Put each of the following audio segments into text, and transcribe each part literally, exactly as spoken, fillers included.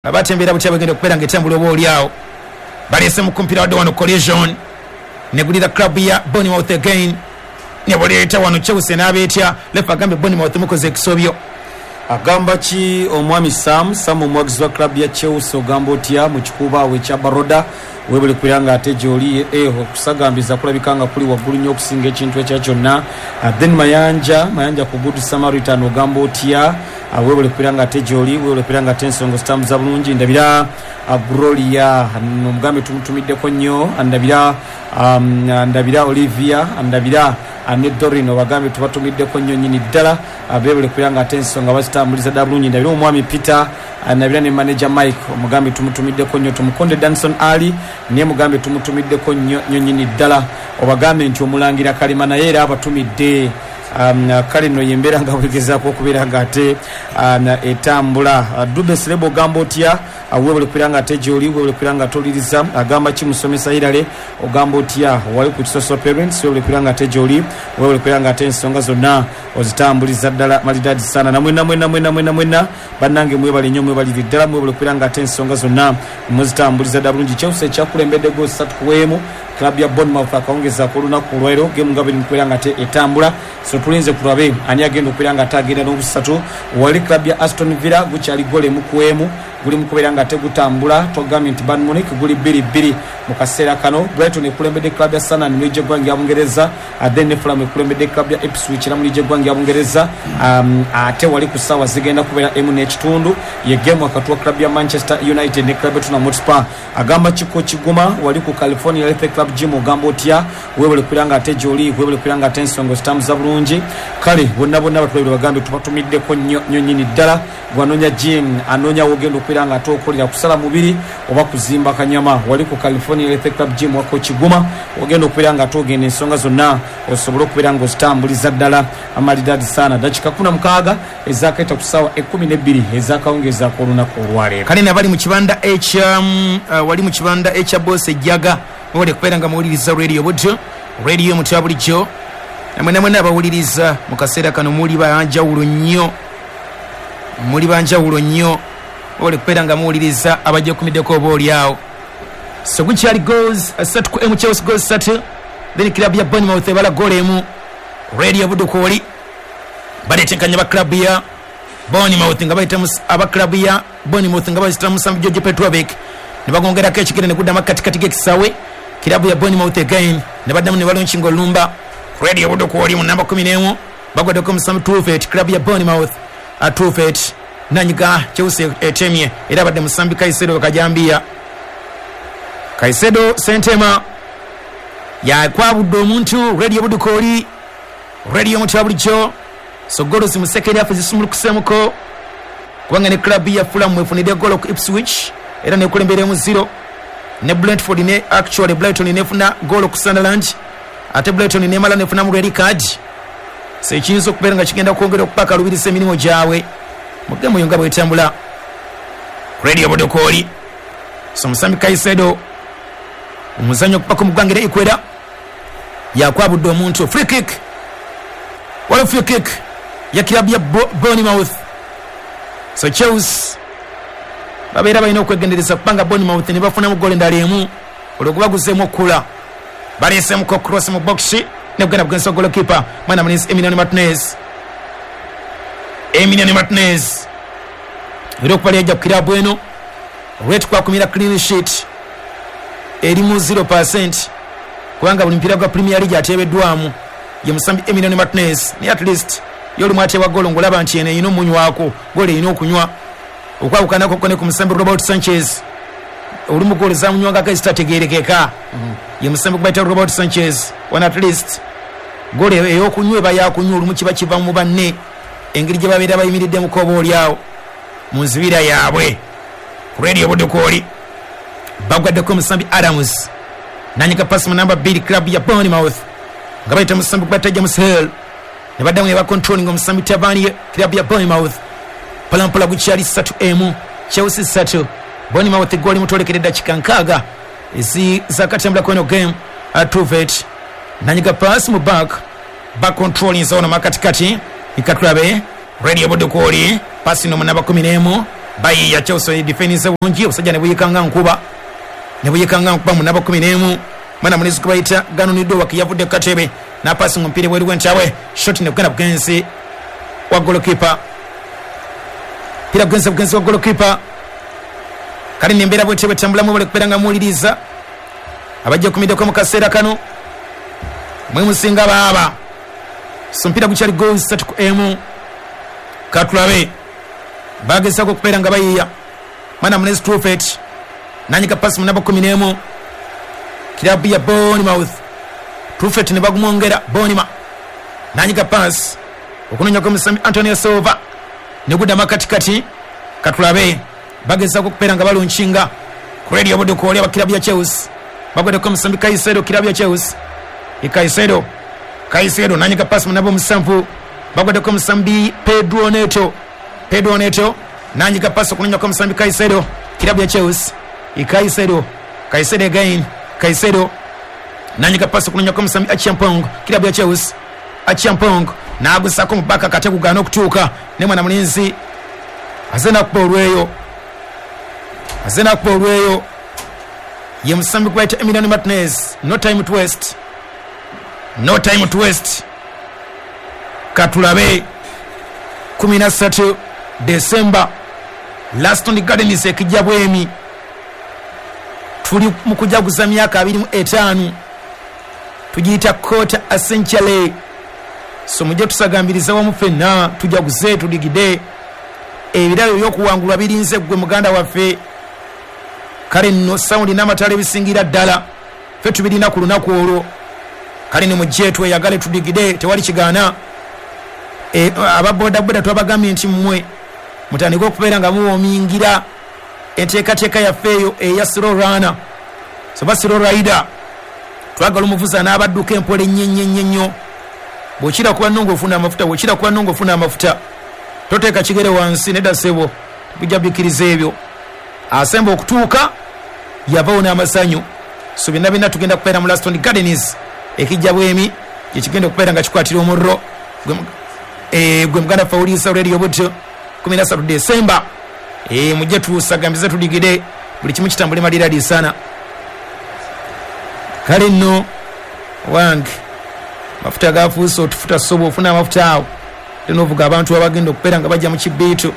Abatembeera butya bagenda okubeera nga etambula oba oliawo. Baleese mu kumpira wadde wano collision negulira club ya Bournemouth again, nebuleeta wano Chelsea n'abeetya. Lefa agambe Bournemouth mukoze ekisobyo. Agamba ki omwami Sam Sam omuwagizi wa club ya Chelsea, ogamba otya mu kikuba ekya Baroda? Webale kubeera nga ate gy'oli, eh, okusagambiza kulabika nga kuli waggulu nnyo okusinga ekintu ekya kyonna. Then Mayanja Mayanja ku Good Samaritan, ogamba otya? Webale kubeera nga ate gy'oli, webale kubeera nga ate ensonga zitambuza bulungi. Ndabira Gloria omugambe tumutumiddeko nnyo, ndabira um, ndabira Olivia, ndabira ne Dorino, bagambe tubatumiddeko nnyo nnyini ddala, bebale kubeera nga ate ensonga bazitambuliza ddala bulungi. Ndabira omwami Peter, ndabira ne manager Mike, omugambe tumutumiddeko nnyo. Tumukonde Danson Ali naye mugambe tumutumiddeko nnyo nnyo nnyini ddala. Obagambe nti omulangira Kalema naye era abatumidde. Um, kale nno yembeera nga bwegezaako okubeera nga ate um, etambula. Dube Sirebo ogamba otya? Webale kubeera nga ate gy'oli, webale kubeera nga toliriza. Agamba ki musomesa Irale, ogamba otya? Wali ku Kisoso Parents, webale kubeera nga ate gy'oli, webale kubeera nga ate ensonga zonna ozitambuliza ddala malidadi sana. Namwena mwena mwena mwena mwena bannange mwebale nnyo, mwebalire ddala, mwebale kubeera nga ate ensonga zonna muzitambuliza ddala bulungi. Chelsea ekyakulembedde goal ssatu ku emu club ya Bournemouth akawungeza ku lunaku olwaleero, game nga buli mukubeera nga ate etambula. So tulinze kulabe ani agenda okubeera nga ate agenda n'obusatu. Wali club ya Aston Villa gukyali goal emu ku emu, guli mukubeera nga ate gutambula. Twagambye nti Bayern Munich guli bbiri bbiri mu kaseera kano. Brighton ekulembedde club ya Sunderland mu liigi y'eggwanga ya Bungereza, then ne Fulham ekulembedde club ya Ipswich era mu liigi y'eggwanga ya Bungereza. Um, ate wali ku ssaawa zigenda kubeera emu n'ekitundu ye game wakati wa club ya Manchester United ne club ya Tottenham Hotspur. Agamba kiko kiguma wali ku California Health Club Gym, ogamba otya? Webale kubeera nga ate gy'oli, webale kubeera nga ate ensonga zitambuza bulungi. Kale bonna bonna batulabire bagambe tubatumiddeko nnyo nnyo nnyini ddala. Gwanoonya gym, anoonya wogenda okubeera nga ate okolera kusala mubiri oba kuzimba kanyama, wali ku California Health Club Gym wako kiguma ogenda okubeera nga ate ogenda ensonga zonna osobola okubeera nga ozitambuliza ddala amalidadi sana. Dakika kumi na mukaaga ezakaita ku ssaawa ekkumi n'ebbiri ezakawungeeza k'olunaku olwaleero. Kale nabali mu kibanda ekya uh, wali mu kibanda ekya Boss Ejjaga, mwebale kubeera nga muwuliriza radio Buddo, radio mutya bulijjo. Namwe namwe abawuliriza mu kaseera kano muli banjawulo nnyo, muli banjawulo nnyo, mwebale kubeera nga muwuliriza abajja kumiddeko oba oliawo. So gukyali goals asatu ku emu, Chelsea goals ssatu, then club ya Bournemouth ebala goal emu. Radio Buddo kwoli baleetenkanya ba club ya Bournemouth nga bayita aba club ya Bournemouth nga bayita musambi George Petrovic ne bagongerako ekigere ne gudda makatikati g'ekisaawe. Club ya Bournemouth again ne baddamu ne balonkinga olumba. Radio Buddo kwoli mu namba kumi n'emu bagwaddeko musambi Truffet, club ya Bournemouth Truffet nanyiga Chelsea etemye era abadde musambi Caicedo Kajambia. Caicedo Sentema yakwabudde omuntu. Radio Buddo kwoli, radio mutya bulijjo. So golo zimusekeri afe zisumulukusemuko kubanga ne club ya Fulham efunidde golo ku Ipswich era nekulembera mu zero, ne Brentford ne actually Brighton nefuna golo ku Sunderland, ate Brighton nemala nefuna mu red card. So ekiyinza okubeera nga kigenda kwongera okupaka lubiriza emirimu gyabwe mu gemu yo nga bwetambula. Radio Buddo kwoli so musambi Caicedo omuzannyo okupaka mu ggwanga era Equator yakwabudde omuntu. Free kick, wali free kick ya club ya Bournemouth. So Chelsea babeera balina okwegendereza kubanga Bournemouth ne bafunamu goal endala emu olwo gubaguzeemu okula. Baleesemuko cross mu box ne kugenda bugenzi wa goalkeeper mwana mulenzi Emiliano Martinez. Emiliano Martinez era okuba yajja ku kirabu eno olweti kwakumira clean sheet eri mu zero percent kubanga buli mupiira gwa Premier League ateebeddwamu ye musambi Emiliano Martinez, naye at least yoli ateebwa golo ng'olaba nti eno erina omunywako golo erina okunywa okwawukanako ne ku musambi Robert Sanchez olumu golo zamunywangako ezitategeerekeka. Ye musambi gubayita Robert Sanchez one at least golo ey'okunywa eba yakunywa olumu kiba kiva mu banne engeri gye babeera bayimiridde mu kkobo olyawo mu nzibira yaabwe. Ku Radio Buddo kwoli bagwaddeko omusambi Adams nanyiga pasi mu namba bbiri club ya Bournemouth nga bayita musambi gubayita James Hill ne baddamu ne bacontrolling omusambi Tavernier club ya Bournemouth. Mpolampola gukyali ssatu emu, Chelsea ssatu, Bournemouth goli mutolekera eddakiika nkaaga ezakatambula kweno game. Truffet nanyiga pasi mu back back controlling ono makatikati ikatulabe Radio Buddo kwoli pasi no mu namba kumi n'emu Bayiya Chelsea defense bulungi, obusajja ne buyikanga nkuba ne buyikanga nkuba mu namba kumi n'emu. Mwana mulizi kubayita Ganonido wakiyavudde ku katebe n'apasi omupiira bweru gw'enkyawe, shot ne kugenda bugenzi wa goalkeeper, pira bugenzi bugenzi wa goalkeeper. Kale nembeera bwetyo bwetambulamu bale kubeera nga muwuliriza abajja okumiddeko mu kaseera kano mwe musinga baaba. So mpira gukyali goals ssatu ku emu. Katulabe bagezaako okubeera nga bayiya. Mwana mulenzi Truffet nanyika pasi mu namba kumi n'emu kirabu ya Bournemouth. Truffet ne bagumwongera Bournemouth nanyika pasi okunoonya kw'omusambi Antonio Silva ne gudda makatikati. Katulabe bagezaako okubeera nga balunkinga ku Radio Buddu oli abakirabu ya Chelsea bagweddeko omusambi Caicedo, kirabu ya Chelsea. Caicedo Caicedo nanyika pasi mu namba omusanvu bagweddeko omusambi Pedro Neto, Pedro Neto nanyika pasi okunoonya kw'omusambi Caicedo, kirabu ya Chelsea. Caicedo Caicedo again Caicedo nanyika pasi okunoonya kw'omusambi Achiampong, kirabu ya Chelsea. Achiampong n'agusako mu baka kate kugaana okutuuka ne mwana mulinzi azena kuba olweyo, azena kuba olweyo ye musambi kubayita Emiliano Martinez. No time to waste, no time to waste. Katulabe kumi na ssatu December Laston Gardens ekijja bwemi, tuli mu kujaguza myaka abiri mu etaano, tugiyita Quarter Essentially. So mujje tusagambiriza wamu ffenna tujaguze tudigide ebirabo ebyokuwangulwa birinze ggwe muganda waffe. Kale nno sawundi n'amatala ebisingira ddala ffe tubirina ku lunaku olwo. Kale ne mujje tweyagale tudigide, tewali kigaana. E, ababodaboda twabagambye nti mmwe mutandike okubeera nga muwoomingira enteekateeka yaffe eyo eya slow runner, so ba slow rider. Twagala omuvuzi n'abadduka empola ennyo ennyo ennyo ennyo. Bw'okira kuba nnongo ofuna amafuta, bw'okira kuba nnongo ofuna amafuta, toteeka kigere wansi nedda ssebo, tujja bikkiriza ebyo. Asemba okutuuka yavawo n'amasanyu. So byonna byonna tugenda kubeera mu Laston Gardens ekijja bwemi gyekigenda okubeera nga kikwatira omuliro gwe muganda ffe awuliriza Radio Buddu kumi na ssatu December. E, mujje tusagambize tudigide buli kimu kitambule maliradi sana. Kale nno wange mafuta gafuuse otufuta sobo ofuna amafuta awo ate n'ovuga abantu abagenda okubeera nga bajja mu kibiito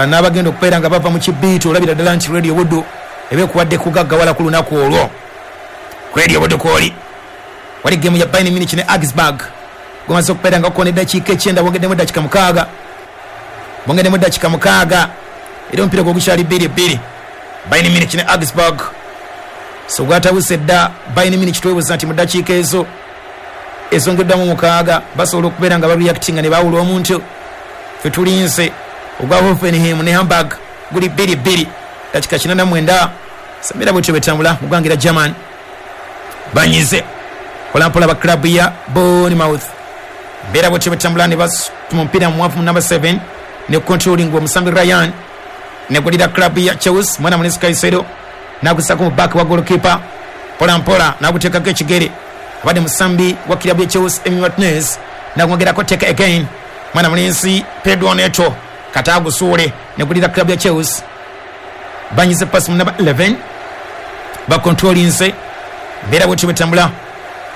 n'abagenda okubeera nga bava mu kibiito, olabira ddala nti Radio Buddu eba ekuwadde kugaggawala ku lunaku olwo. Radio Buddu kwoli wali gemu ya Bayern Munich ne Augsburg gumaze okubeera nga gukoona eddakiika ekyenda, bongeddemu eddakiika mukaaga, bongeddemu eddakiika mukaaga era omupiira gwo gukyali bbiri bbiri. Bayern Munich ne Augsburg so gwatabuse dda. Bayern Munich twebuuza nti mu ddakiika ezo ezongeddwamu mukaaga basobola okubeera nga bareactinga ne baawula omuntu. Ffe tulinze ogwa Hoffenheim ne Hamburg guli bbiri bbiri dakika kinana mwenda. Samira bwetyo betambula mu ggwanga erya German banyize mpolampola ba club ya Bournemouth. Mbeera bwetyo betambula ne basituma omupiira muwanvu mu number seven ne controlling omusambi Ryan ne gulira club ya Chelsea. Mwana mulenzi Caicedo n'agusako mu back wa goalkeeper mpolampola n'aguteekako ekigere abadde musambi wa club ya Chelsea Emi Martinez n'agwongerako take again. Mwana mulenzi Pedro Neto kata agusuule ne gulira club ya Chelsea. Banyize pasi mu number eleven bakontrolinze mbeera bwetyo betambula.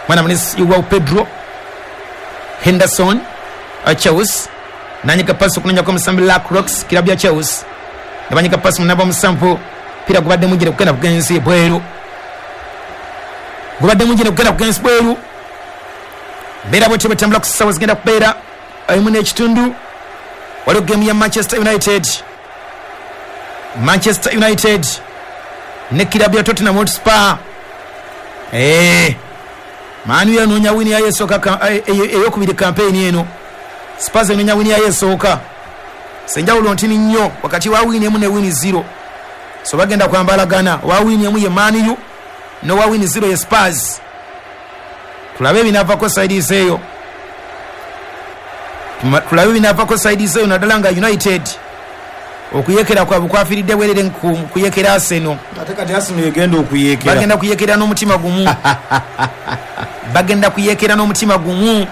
Mwana mulenzi wa Pedro Henderson a Chelsea nanyiga pasi okunonyako omusambi Lacroix club ya Chelsea ne banyiga pasi mu namba omusanvu pira gubadde mugire kugenda bugenzi bweru, gubadde mugire kugenda bugenzi bweru. Mbeera bwetyo betambula ku ssaawa zigenda kubeera emu n'ekitundu. Waliwo gemu ya Manchester United, Manchester United ne club ya Tottenham Hotspur. Eh, Man U yanoonya wini yayo esooka eyokubiri kampeyini eno. Spurs enoonya wini yayo esooka. Senjawulo ntini nnyo wakati wa wini emu ne wini zero. So bagenda kwambalagana, wa wini emu ye Man U n'owa wini zero ye Spurs. Tulabe ebinaavako side eyo, tulabe ebinaavako side eyo naddala nga United okuyekera kwabwe kwafiiridde bwerere ku kuyekera Arsenal. Ate kati Arsenal egenda okuyekera, bagenda kuyekera n'omutima gumu bagenda kuyekera n'omutima gumu.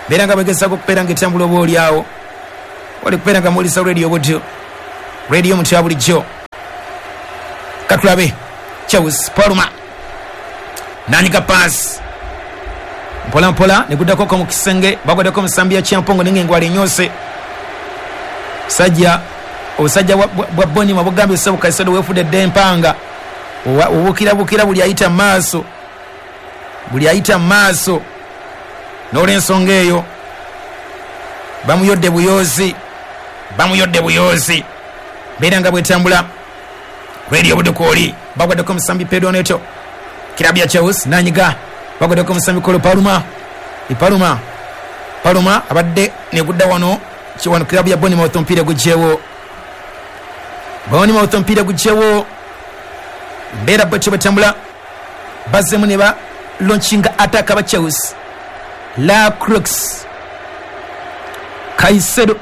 Beera nga begezaako okubeera nga etambula oba oli awo wali kubeera nga muwuliriza Radio Buddu. Radio mutya bulijjo. Katulabe Chelsea Palma nanyiga pass mpola mpola niguddako ko mu kisenge, bagwaddeko omusambi ya Kyampongo ninga engwala enyose. Sajja obusajja bwa Boni mabugambye ssebo Kaisedo weefudde dda empanga, obukira bukira buli ayita mu maaso, buli ayita mu maaso. N'olwensonga eyo bamuyodde buyozi, bamuyodde buyozi. Beera nga bwetambula. Radio Budukooli bagwaddeko omusambi Pedro Neto, kirabu ya Chelsea nanyiga, bagwaddeko omusambi Kolo Paluma, Paluma Paluma abadde negudda wano kiwano kirabu ya Bournemouth omupiira gugyewo, Bournemouth omupiira gugyewo. Mbeera bwetyo bwetambula, bazzemu ne ba launchinga attack aba Chelsea. La Crux Caicedo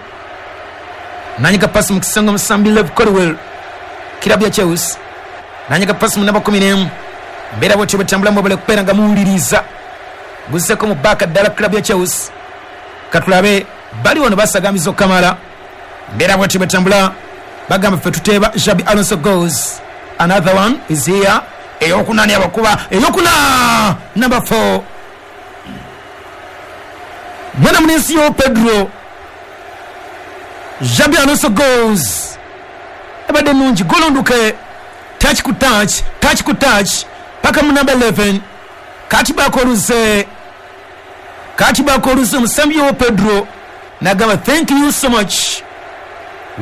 nanyiga pasi mu kisenge omusambi Lev Colwell, kirabu ya Chelsea nanyiga pasi mu namba kumi n'emu. Mbeera bwetyo bwetambula, mwebale kubeera nga muwuliriza. Guzzeko mu baaka ddala kirabu ya Chelsea. Katulabe bali wano basagamiza okukamala. Mbeera bwetyo bwetambula, bagamba ffe tuteeba. Xabi Alonso goes, another one is here. Eyokuna ni abakuba eyokuna number four, mwana mulenzi yo Pedro. Xabi Alonso goes, ebadde nungi, golonduke touch ku touch, touch ku touch paka mu number eleven. Kati bakoluze, kati bakoluze omusambi yo Pedro nagamba thank you so much.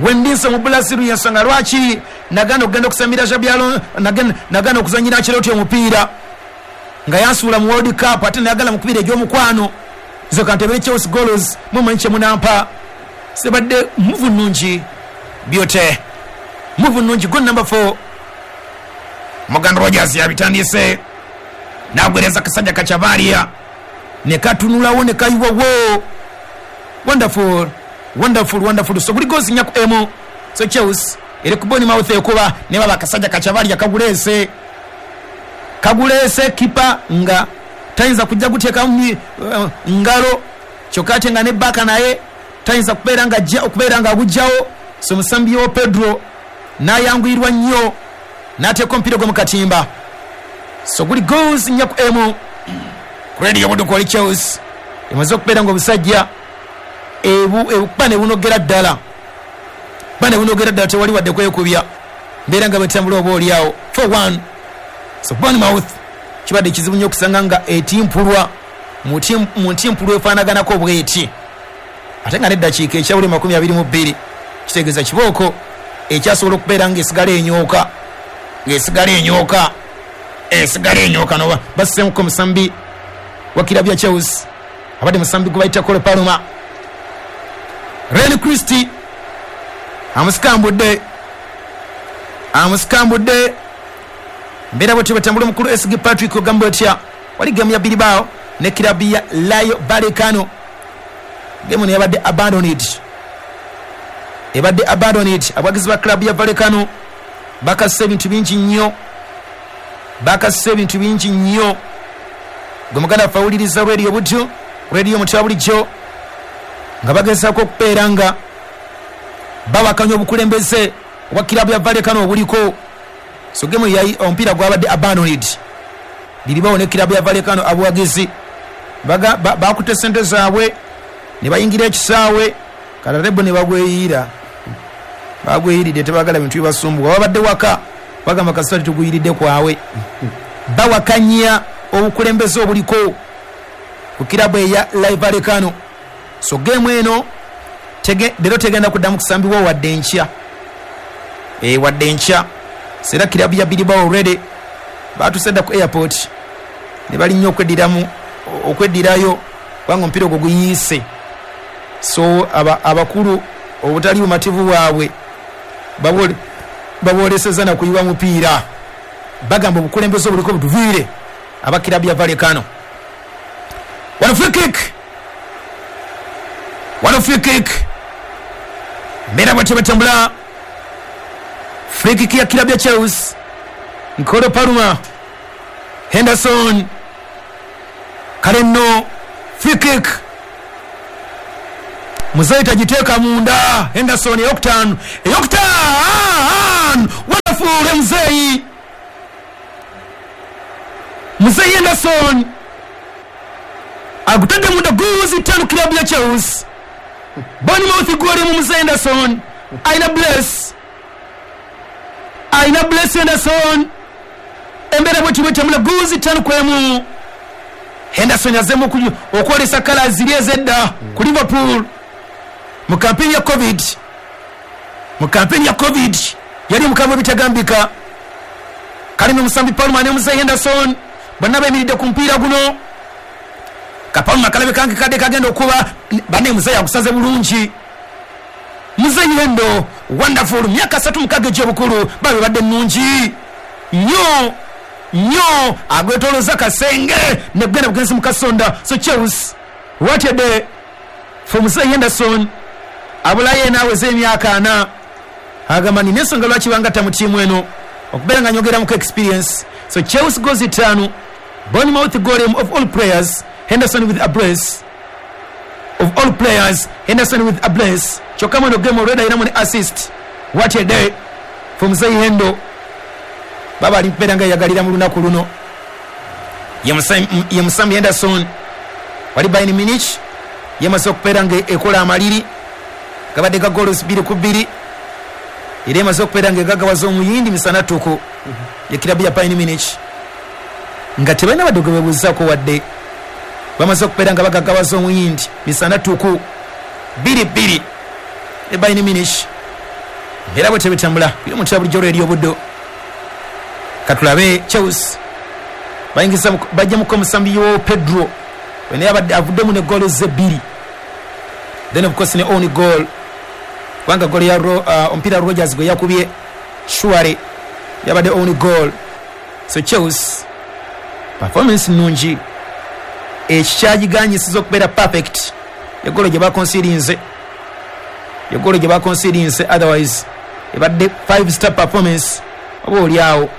Wendinso mu Brazil yensonga lwaki nagana okugenda okusambira Xabi Alonso, nagana okuzanyira Ancelotti omupiira nga yansuula mu World Cup, ate nayagala mukubira egy'omukwano. Zo kantebere Chelsea goals mumanyi kye munampa. Sebadde muvu nnungi byote, muvu nnungi. Goal number four, Morgan Rogers yabitandise nagwereza kasajja Kachavaria ne katunulawo ne kayiwawo. Wonderful, wonderful, wonderful. So buli goals nyaku emu. So Chelsea eri ku Bournemouth ekuba ne baba kasajja Kachavaria kagulese, kagulese kipa nga tayinza kujja kuteekamu uh, ngalo, kyokka ate nga ne baka naye tayinza kubeera nga ajja okubeera nga agugjawo. So musambi wo Pedro n'ayanguyirwa nnyo n'ateeka omupiira gwe mu katimba. So guli goals nyaku emu. Radio Budukooli Chelsea emaze okubeera nga obusajja ebu ebukuba ne bunogera ddala, kuba ne bunogera ddala, tewali wadde kwekubya. Mbeera nga bwetambula oba oliawo four one. So Bournemouth kibadde kizibu nnyo okusanga nga etimpulwa mu ntimpulwa efaanaganako bweti, ate nga n'eddakiika ekyabuli makumi abiri mu bbiri kitegeeza kibooko ekyasobola okubeera ng'esigala enyooka, ng'esigala enyooka, esigala enyooka. Noba bassemuko omusambi wa kirabu ya Chelsea abadde musambi gwe bayita Kolo Paluma. Ren Christie amusikambudde, amusikambudde. Mbeera bwetyo bwetambula. Omukulu S G Patrick ogamba otya, wali gemu ya Bilbao ne kirabu ya Rayo Vallecano. Gemu yabadde abandoned, ebadde abandoned. Abawagizi ba club ya Vallecano bakassa ebintu bingi nnyo, bakassa ebintu bingi nnyo. Gwe muganda waffe awuliriza Radio Buddu, Radio Mutya bulijjo, nga bagezaako okubeera nga bawakanya obukulembeze obwa kirabu ya Vallecano obuliko. So gemu yayi omupiira gwabadde abandoned. Bilbao ne kirabu ya Vallecano abawagizi bakutte sente zaabwe ne bayingira ekisaawe, kalarebo ne bagweyiira, bagweyiridde, tebagala bintu bibasumbuwa. Babadde waka bagamba kasita tuguyiridde kwawe. Bawakanya obukulembeze obuliko ku kirabu eya Vallecano. So gemu eno leero tegenda kuddamu kusambibwa wadde enkya, e wadde enkya. Sera kirabu ya Bilbao already batuuse dda ku airport ne balinnya okweddiramu okweddirayo kubanga omupiira ogwo guyiise. So abakulu obutali bumativu bwabwe baboolesezza na kuyiwa mupiira, bagamba obukulembeze obuliko butuviire aba kirabu ya Vallecano. Wano free kick, wano free kick. Mbeera bwetyo bwetambula. Free kick ya kirabu ya Chelsea. Nkolo Paluma, Henderson, kale nno free kick. Muzeeyi tagiteeka munda. Henderson eyokutaano, eyokutaano, wonderful muzeeyi, muzeeyi Henderson agutadde munda goals ttaano club ya Chelsea. Bournemouth goal mu muzeeyi Henderson, ayina bless, ayina bless Henderson. Embeera bwetyo bwetambula goals ttaano ku emu. Henderson azemu okwolesa kala ziri ezedda ku Liverpool mu kampeni ya Covid. Mu kampeni ya Covid yali mukambwe bitagambika. Kalimi musambi Palmer ne muzeeyi Henderson bonna bayimiridde ku mupiira guno. Kapalma kalabe kange kadde kagenda okuba banne, muzeeyi agusaze bulungi. Muzeeyi Hendo wonderful, myaka asatu mukaaga egy'obukulu, babe badde nnungi nnyo nnyo, agwetoloza kasenge negenda bugenzi mu kasonda. So Chelsea, what a day for muzeeyi Henderson. Abulayo naaweza emyaka ana, agamba nina ensonga lwaki bangatta mu ttiimu eno okubeera nga nyongeramuko experience. So Chelsea goals ttaano, Bournemouth goal of all players Henderson with a brace. Of all players Henderson with a brace. Kyokka mweno game already ayinamu ne assist. What a day for muzeeyi Hendo. Baba ali mpeera nga yagalira mu lunaku luno. Ye musambi Henderson wali Bayern Munich yamaze okubeera nga ekola amaliri gabadde ga goals bbiri ku bbiri, era emaze okubeera nga egagawaza omuyindi misana ttuku ye kirabu ya Bayern Munich, nga tebalina badde gwe beebuuzaako wadde. Bamaze okubeera nga bagagawaza omuyindi misana ttuku bbiri bbiri e Bayern Munich. Era bwe tebitambula biri mu bulijjo lweri obuddo. Katulabe Chelsea bayingiza bajjamuko omusambi yo Pedro wene abadde avuddemu ne goal ze bbiri, then of course ne own goal, kubanga goal ya uh, omupiira Rogers gwe yakubye Shuare yabadde own goal. So Chelsea performance nnungi, ekikyagiganyisiza okubeera perfect egolo gye bakonsirinze, egolo gye bakonsirinze, otherwise ebadde five star performance oba oli awo.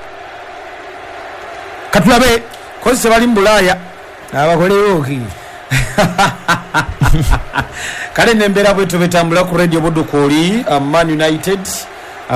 Katulabe kozi tebali mu Bulaaya abakolewo ki kale nembeera bwetyo betambula ku Radio Budukooli. Man United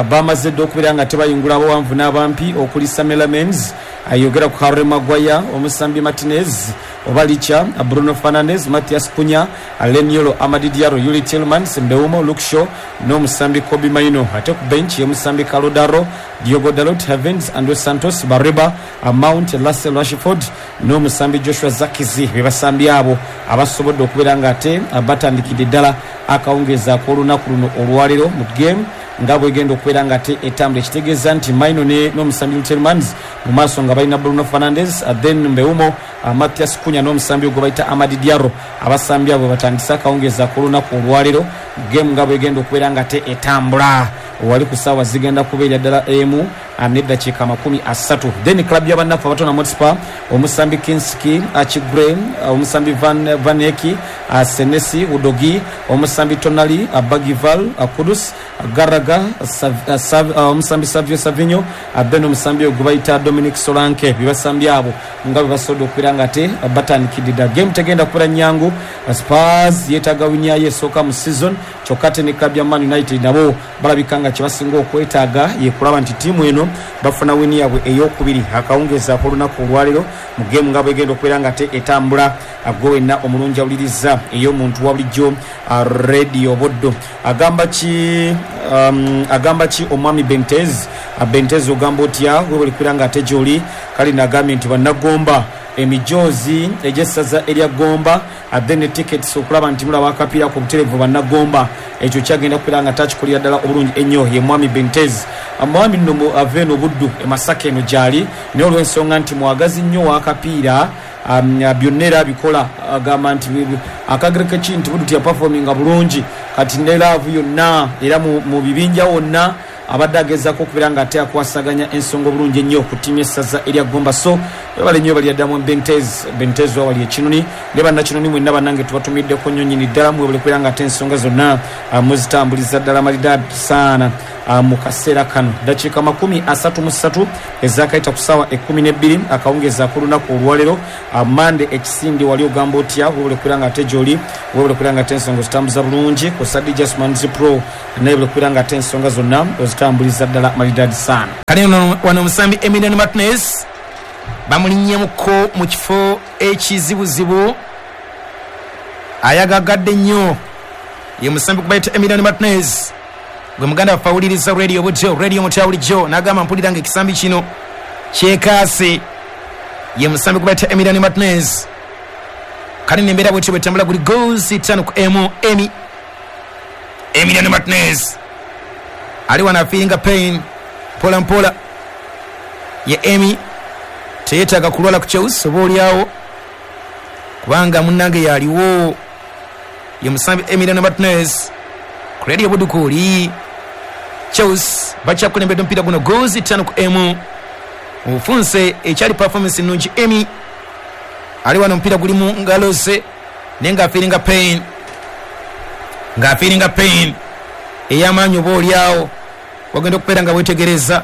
bamaze dda okubeera nga tebayingula abawanvu n'abampi okuli Samela Menz, ayogera ku Harry Maguire, omusambi Martinez oba Licha, Bruno Fernandes, Matthias Cunha, Leniolo, Amadi Diallo, Yuri Tielemans, Mbeumo, Luke Shaw n'omusambi Kobbie Mainoo. Ate ku bench ye musambi Kalodaro, Diogo Dalot, Heavens, Andre Santos, Bareba, Mount, Lassell Rashford n'omusambi Joshua Zakizi. Be basambi abo abasobodde okubeera nga ate batandikidde ddala akawungeezi ak'olunaku luno olwaleero mu game nga bwegenda okubeera nga ate etambula. Ekitegeeza nti Mainoo n'omusambi Tielemans mu maaso nga balina Bruno Fernandes, then Mbeumo, Matthias Cunha n'omusambi gwe bayita Amadi Diallo. Abasambi abo batandise akawungeezi ak'olunaku olwaleero game nga bwegenda okubeera nga ate etambula. Wali ku ssaawa zigenda kubeera ddala emu neddakiika makumi asatu. Then club y'abannaffe abatona Hotspur, omusambi Kinski Achigre, omusambi Van Vaneki, Senesi Udogi, omusambi Tonali, Bagival, Kudus, Garaga, omusambi Savio Savinho, then omusambi gwe bayita Dominic Solanke. Bibasambi abo nga bwe basobodde okubeera nga ate batandikidde ddala. Game tegenda kubeera nnyangu. Spurs yeetaaga win yayo esooka mu season, kyokka ate ne club ya Man United nabo balabika nga kye basinga okwetaaga ye kulaba nti ttiimu eno bafuna win yaabwe eyokubiri akawungeezi ak'olunaku olwaleero mu game nga bwegenda okubeera nga te etambula. Gwe wenna omulungi awuliriza ey'omuntu wa bulijjo Radio Buddo, agamba ki um, agamba ki omwami Bentez? Bentez ogamba otya? Webale kubeera nga ate gy'oli. Kale nagambye nti bannagomba emijoozi egy'essaza erya Gomba, then tickets okulaba nti mulaba akapiira ku butereevu bannagomba, ekyo kyagenda kubeera nga takikolera ddala obulungi ennyo. Ye mwami Bentez, mwami nno ava eno Buddu e Masaka eno gy'ali, naye olw'ensonga nti mwagazi nnyo w'akapiira, byonna era abikola. Agamba nti akagereka ki nti Buddu teyapafominga bulungi, kati ne laavu yonna era mu bibinja wonna Abadde agezaako okubeera nga ate akwasaganya ensonga obulungi ennyo ku ttiimu y'essaza erya Gomba. So webale nnyo bali addamu Bentez Bentez wawali ekinoni ne bannakinoni mwenna bannange tubatumiddeko nnyo nnyini ddala, mwebale kubeera nga ate ensonga zonna muzitambuliza ddala malidaadi saana mu kaseera kano. Dakiika makumi asatu mu ssatu ezakayita ku ssaawa ekkumi n'ebbiri akawungeezi ak'olunaku olwaleero Mande ekisindi wali ogamba otya? Webale kubeera nga ate gy'oli, webale kubeera nga ate ensonga ozitambuza bulungi ku Sadi Jasmines Pro, naye webale kubeera nga ate ensonga zonna ozitambuliza ddala malidaadi saana. Kale wano omusambi Emiliano Martinez bamulinnyemuko mu kifo ekizibuzibu, ayagagadde nnyo ye musambi kubayita Emiliano Martinez. Gwe muganda waffe awuliriza radio butyo, radio mutya bulijjo, n'agamba mpulira nga ekisambi kino kyekaase. Ye musambi kubayita Emiliano Martinez. Kale nembeera bwetyo bwetambula, guli goals ttaano ku emu. Emi Emiliano Martinez ali wano afiiringa pain mpola mpola. Ye Emi teyeetaaga kulwala ku Chelsea oba oliawo, kubanga munnange yaliwo. Ye musambi Emiliano Martinez ku radio Budukuuli. Chelsea bakyakulembedde omupiira guno goals ttaano ku emu. Obufunse ekyali performance ennungi. Emi ali wano omupiira guli mu ngalo ze naye ng'afiiringa pain, ng'afiiringa pain ey'amaanyi oba oliawo. Wagenda okubeera nga weetegereza,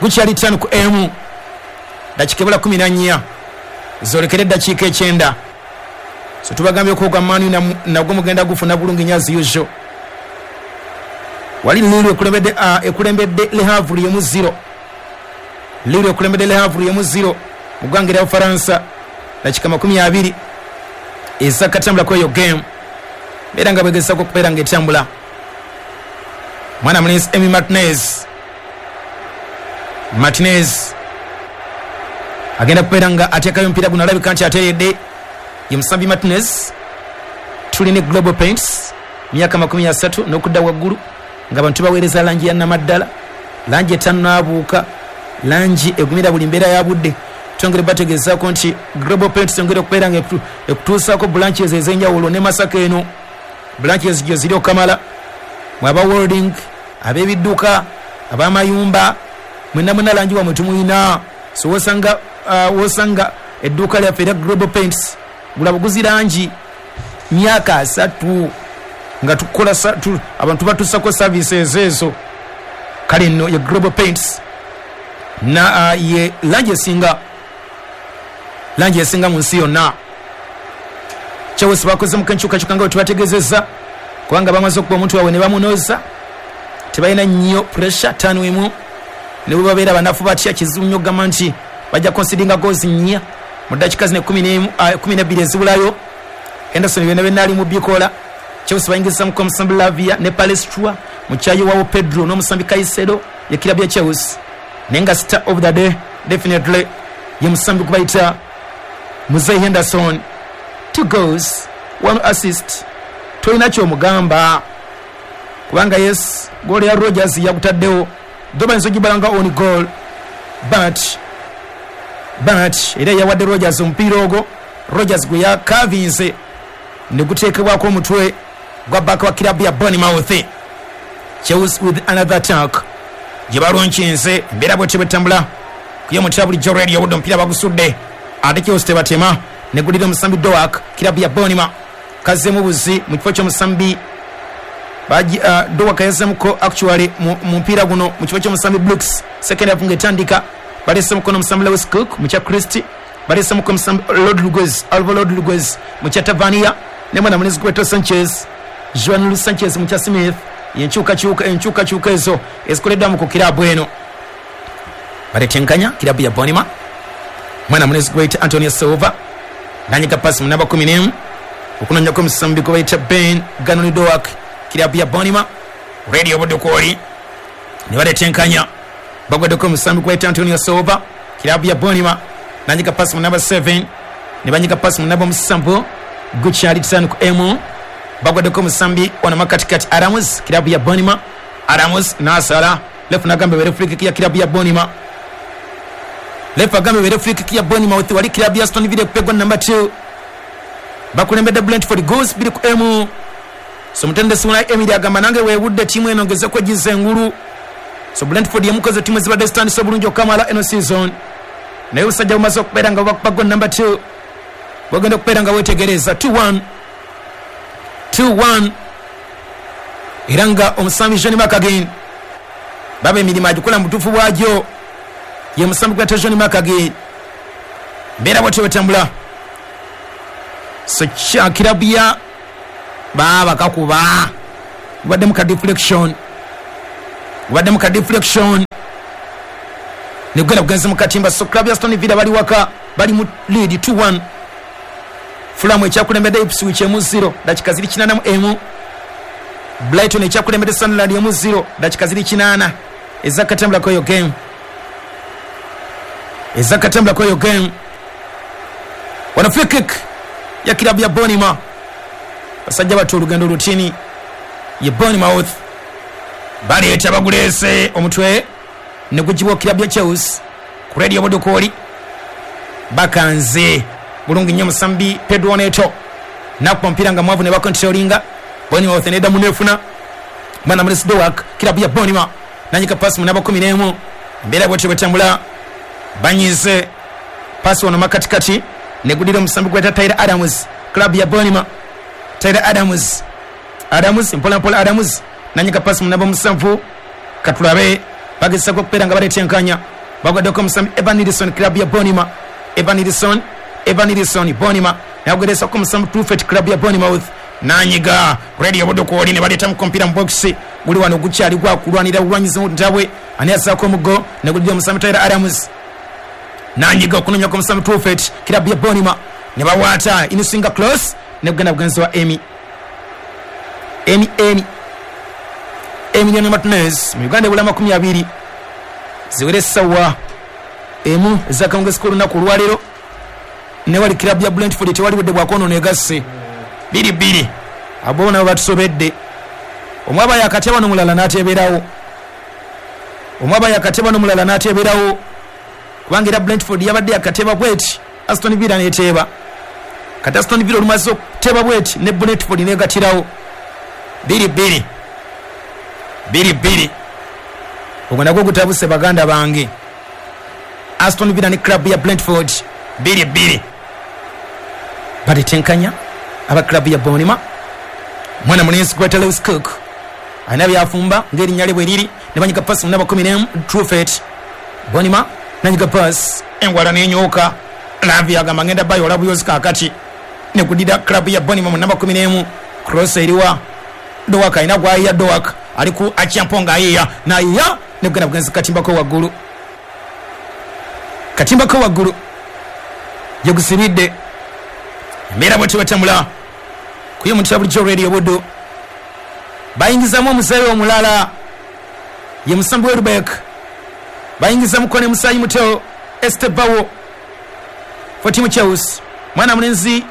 gukyali ttaano ku emu, dakiika ebula kumi na nnya zoolekere eddakiika ekyenda. So tubagambye okwo gwa Manu nagwo mugenda gufuna bulungi nnyo as usual. Wali Lille ekulembedde ekulembedde Le Havre emu zero. Lille ekulembedde Le Havre emu zero mu ggwanga erya Bufalansa, dakiika makumi abiri ezakatambulako eyo game beera nga bwegezaako okubeera nga etambula. Mwana mulenzi Emi Martinez, Martinez agenda kubeera nga ateekayo omupiira guno, alabika nti ateredde. Ye musambi Martinez. Tulina Global Paints myaka makumi asatu n'okudda waggulu nga abantu baweereza langi ya namaddala, langi etannaabuuka, langi egumira buli mbeera ya budde. Twongere bategeezaako nti Global Paints yongere okubeera nga ekutuusaako branches ez'enjawulo ne Masaka eno branches gye ziri okamala, mwe aba welding, ab'ebidduka, ab'amayumba, mwenna mwenna langi wamwe tumuyina. So wosanga uh, wosanga edduuka lyaffe erya Global Paints gula buguzi langi myaka asatu nga tukola tu, abantu batusako services ezo. Kale nno ye Global Paints na uh, ye langi esinga langi esinga mu nsi yonna. Chelsea bakoze enkyukakyuka nga bwe tubategeezezza, kubanga bamaze okuba omuntu waabwe ne bamunoza, tebalina nnyo pressure ttaano emu, ne bwe babeera banafu batya kizibu nnyo okugamba nti bajja consideringa goals nnya mu ddakiika zino ekkumi n'ebbiri ezibulayo. Henderson byonna byonna ali mu bikola. Chelsea bayingizamuko omusambi Lavia ne Palestra mu kyayiwawo Pedro n'omusambi Caicedo ye kirabu ya Chelsea, naye nga star of the day definitely ye musambi gubayita Muzei Henderson. Two goals, one assist, tolina kyomugamba kubanga yes goal ya Rogers yakutaddewo, though bayinza ogibalanga on goal, but but era yawadde Rogers omupiira ogwo, Rogers gwe yakavinze ne guteekebwako omutwe gwa baka wa kirabu ya Bournemouth. Chelsea with another attack gye balonkinze, embeera bwetyo bwetambula kuye mutya bulijjo radio obudde omupiira bagusudde ate Chelsea tebatema ne gulira omusambi Doak kirabu ya Bournemouth kazzemu buzi mu kifo ky'omusambi baji uh, Doak yazzemuko actually mu mupiira guno mu kifo ky'omusambi Brooks. Second half ng'etandika balesemuko n'omusambi Lewis Cook mu kya Christie, balesemuko omusambi Rodriguez, Alvaro Rodriguez mu kya Tavania ne mwana mulenzi Beto Sanchez, Juan Luis Sanchez mu kya Smith. Enkyukakyuka enkyukakyuka ezo ezikoleddwa ku kirabu eno. Baletenkanya kirabu ya Bournemouth, mwana mulenzi gweyita Antonio Silva nanyiga pasi mu namba kumi n'emu okunonyako omusambi gwe bayita Ben Ganoni Doak kirabu ya Bournemouth. Radio Budukuoli ne baletenkanya, bagwaddeko omusambi gwe bayita Antonio Silva kirabu ya Bournemouth nanyiga pasi mu namba seven ne banyiga pasi mu namba musanvu gukyali ttaano ku emu. Bagwaddeko omusambi wano makatikati Adams kirabu ya Bournemouth. Adams n'asala lefu n'agamba ebeere free kick ya kirabu ya Bournemouth. Lefu agamba ebeere free kick ya Bournemouth wali kirabu ya Aston Villa kupegwa namba two. Bakulembedde Brentford goals bbiri ku emu. So mutendesi Unai Emery agamba nange weewudde ttiimu eno ngezeko egiza engulu. So Brentford yemukoze ttiimu ezibadde zitandise obulungi okukamala eno season, naye obusajja bumaze okubeera nga bubakuba goal number two, bwegenda okubeera nga weetegereza two one two one, era nga omusambi John McGinn baba emirimu agikola mu butuufu bwagyo, ye musambi gwata John McGinn. Mbeera bwetyo bwetambula. So kirabu ya baaba kakuba gubaddemu ka deflection, gubaddemu ka deflection negugenda kugenza mu katimba. So club ya Aston Villa bali waka, bali mu lead two one. Fulham ekyakulembedde Ipswich emu zero dakika ziri kinaana mu emu. Brighton ekyakulembedde Sunderland emu zero dakika ziri kinaana ezakatambulako eyo game, ezakatambulako eyo game. Wana free kick ya kilabu ya Bournemouth. Basajja bato olugendo lutini ye Bournemouth baleeta baguleese omutwe ne gugibwa kilabu ya Chelsea ku Radio Bodokoli. Bakanze bulungi nnyo musambi Pedro Neto nakuba omupiira nga mwavu ne bakontrolinga. Bournemouth neddamu nefuna mwana mulesi Dowak, kilabu ya Bournemouth nanyika pasi mu namba kumi n'emu. Embeera bwetyo bwetambula, banyize pasi wano makatikati negudira omusambi gweta Tyler Adams, club ya Bournemouth. Tyler Adams, Adams mpola mpola, Adams nanyika pasi mu namba musanvu. Katulabe bagezesako okubeera nga baleeta enkanya, bagwaddeko omusambi Evan Nilsson, club ya Bournemouth. Evan Nilsson, Evan Nilsson Bournemouth nagugeresako omusambi Truffet, club ya Bournemouth nanyiga Radio Bodokoli ne baleetamu kompira mu box guli wano gukyali gwakulwanira bulwanyizi ntabwe ani asaako omugo negudira omusambi Tyler Adams nanyiga okunonyako omusambi Truffet, club ya Bournemouth ne bawaata inisinga close negugenda bugenzi wa Emi Emi Emi Emiliano Martinez mu Uganda ebula makumi abiri ziwere essaawa emu ezakawungezi k'olunaku olwaleero. Ne wali club ya Brentford tewali budde bwakwonoona egasse biri bbiri, abo nabo batusobedde. Omwaba yakateba n'omulala n'ateeberawo, omwaba yakateba n'omulala n'ateeberawo, kubanga era Brentford yabadde yakateba bweti, Aston Villa n'eteeba. Kati Aston Villa olumaze okuteeba bweti ne Brentford n'egatirawo biri bbiri biri bbiri. Ogwo nagwo gutabuse baganda bange. Aston Villa ne club ya Brentford biri bbiri, baletenkanya aba club ya Bournemouth. Mwana mulenzi gweta Lewis Cook alina byafumba ng'erinnya lye bwe liri, ne banyiga pasi mu namba kumi n'emu Truffet. Bournemouth nanyiga pasi engwala n'enyooka. Lavi agamba ngenda bayola buyozi kaakati ne kudira club ya Bournemouth mu namba kumi n'emu. Cross eriwa Dowak, alina gwayiya Dowak ali ku Achiamponga ayiya nayiya negugenda bugenzi katimbako waggulu, katimbako waggulu gye embeera bwetyo batambula kuye muntu bulijjo Radio Buddu. Bayingizamu omuzeeyi omulala ye musambi Welbeck, bayingizamuko ne musaayi muto Estevao for timu Chelsea. Mwana mulenzi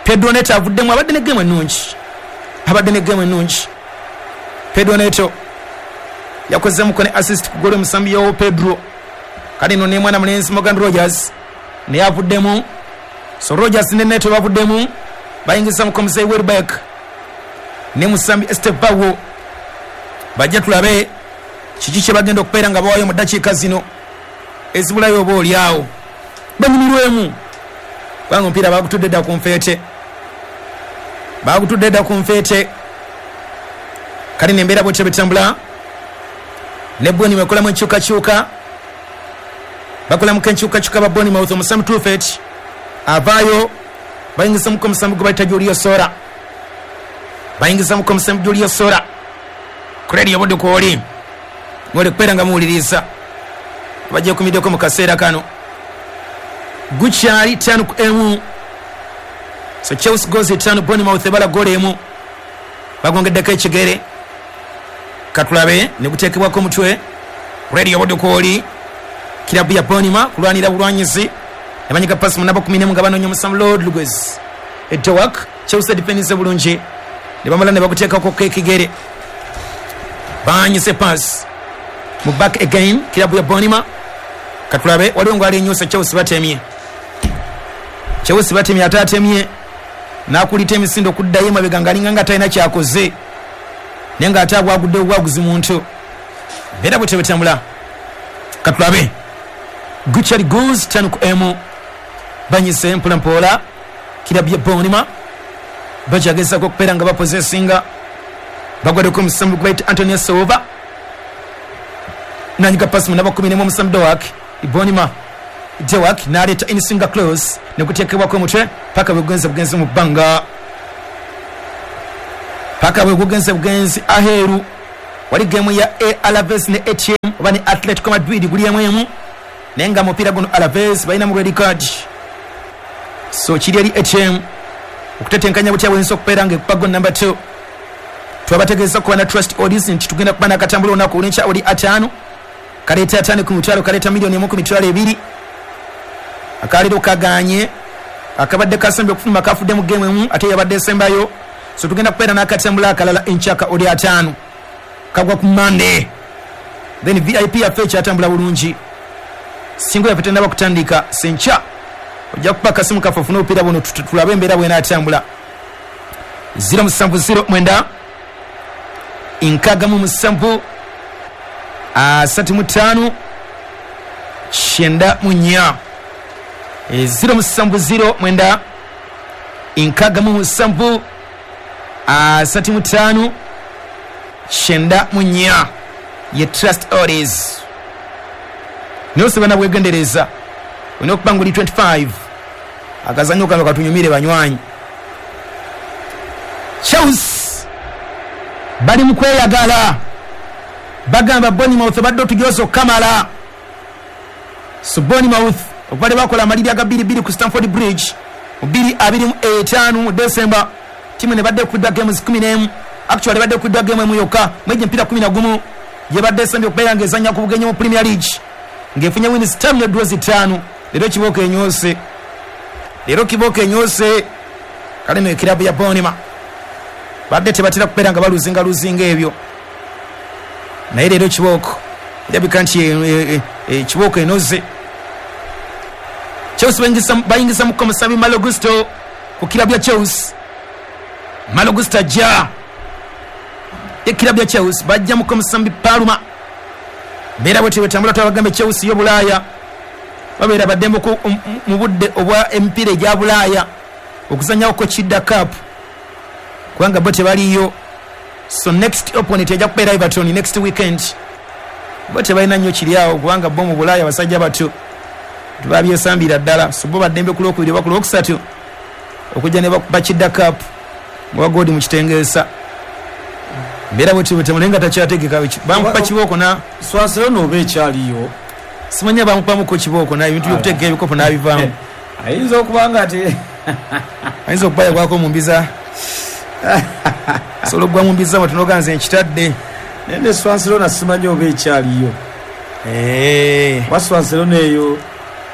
Pedro Neto avuddemu, abadde ne game ennungi, abadde ne game ennungi. Pedro Neto yakozemuko ne assist ku golo musambi yo Pedro. Kale no ne mwana mulenzi Morgan Rogers naye avuddemu. So Rogers ne Neto bavuddemu, bayingizamuko muzeeyi Welbeck ne musambi Estevao. Bajja tulabe kiki kye bagenda okubeera nga bawayo mu ddakiika zino ezibulayo oba oli awo banyumirwemu, kubanga omupiira bagutudde dda ku nfeete, bagutudde dda ku nfeete. Kale nembeera bwetyo betambula ne Bournemouth ekolamu enkyukakyuka, bakolamuko enkyukakyuka ba Bournemouth. Omusambi Truffet avaayo, bayingizamuko omusambi gwe bayita Julio Sora, bayingizamuko omusambi Julio Sora. Ku Radio Bodokoli ng'oli kubeera nga muwuliriza bajja kumiddeko mu kaseera kano. Gukyali ttaano ku emu. So Chelsea goals ttaano, Bournemouth ebala goal emu, bagongeddeko ekigere. Katulabe ne guteekebwako omutwe. Radio Bodokoli kirabu ya Bournemouth kulwanira bulwanyizi ne banyiga pasi mu namba kumi n'emu nga banoonya omusambi Rodriguez. Edowak Chelsea defense bulungi ne bamala ne baguteekako ekigere, banyise pass mu back again kirabu ya Bournemouth. Katulabe waliwo ng'ali enyusa, Chelsea batemye, Chelsea batemye ate atemye N'akulita emisindo okuddayo emabega ng'alinga nga talina kyakoze, naye ng'ate agwagudde obwaguzi muntu. Mbeera bwe tebetambula. Katulabe gukyali goals tano ku emu, banyise mpola mpola kirabu ya Bournemouth bakyagezako okubeera nga bapossessinga. Bagwaddeko omusambi gwe Antonio Silva, nanyiga pasi mu namba kumi n'emu omusambi Dowak Bournemouth. Dowak n'aleeta insinga close nekuteekebwako omutwe paka bwe gugenze bugenzi mu bbanga, paka bwe gugenze bugenzi aheeru. Wali gemu ya A Alaves ne A T M oba ne Atletico Madrid guli emu emu, naye nga mupiira guno Alaves balina mu red card, so kiri eri A T M okutetenkanya butya bwensi okubeera nga ekuba goal number two. Twabategeeza kuba na Trust Odds nti tugenda kuba n'akatambula olunaku olw'enkya oli ataano, kaleeta ataano ku mitwalo, kaleeta miliyoni emu ku mitwalo ebiri. Akaleero kaganye akabadde kasembye okufuluma kafudde mu gemu emu ate yabadde esembayo, so tugenda kubeera n'akatambula akalala enkyaka oli ataano kagwa ku Monday. Then V I P yaffe ekyatambula bulungi, singo yaffe tennaba kutandika senkya ojja kuba akasimu kaffe ofune obupiira buno tulabe embeera bw'enaatambula. zero musanvu zero mwenda nkaaga mu musanvu asatu mu ttaano kyenda mu nnya, zero musanvu zero mwenda nkaaga mu musanvu asatu mu ttaano kyenda mu nnya ye Trust Odds. Naye osaba nabwegendereza olina okuba nguli twenty-five akazannyo kano katunyumire banywanyi. Chelsea bali mu kweyagala, bagamba Bournemouth badde otugyoza okukamala. So Bournemouth okuva lwe bakola amaliri aga bbiri bbiri ku Stamford Bridge mu bbiri abiri mu etaano mu December, ttiimu ne badde ekubiddwa games kumi n'emu, actually badde ekubiddwa game emu yokka mwegyo emipiira kumi na gumu gyebadde esembye okubeera ng'ezannya ku bugenyi mu Premier League ng'efunye wins ttaano ne draws ttaano. Leero kibooko enyoose, leero kibooko enyoose. Kale no ekirabu ya Bournemouth badde tebatera kubeera nga baluzinga luzinga ebyo, naye leero kibooko erabika nti kibooko enoze. Chelsea bayingiza muko musambi Malo Gusto ku kirabu ya Chelsea. Malo Gusto ajja ekirabu ya Chelsea, bajja muko musambi Palma. Mbeera bwe tebetambula twabagambe Chelsea yo Bulaaya babeera baddembe mu budde obwa emipiira egya Bulaaya okuzannyako Kidda Cup kubanga bo tebaliyo. So next opponent ejja kubeera Everton next weekend. Bo tebalina nnyo kiri awo kubanga bo mu Bulaaya basajja bato tebabyesambira ddala, so bo baddembe ku lwokubiri oba ku lwokusatu okujja ne bakuba Kidda Cup nga godi mu kitengeesa. Mbeera bwe tebetambula nga takyategeka bamukuba kibooko na Swansea n'oba ekyaliyo simanya bamukubamuko kibooko na ebintu by'okutegeka ebikopo n'abivaamu. Ayinza okuba nga ate ayinza okuba yagwako mu mbiza sobola okugwa mu mbiza bwe tunoga nze nkitadde. Naye ne Swansea simanyi oba ekyaliyo. Wa Swansea eyo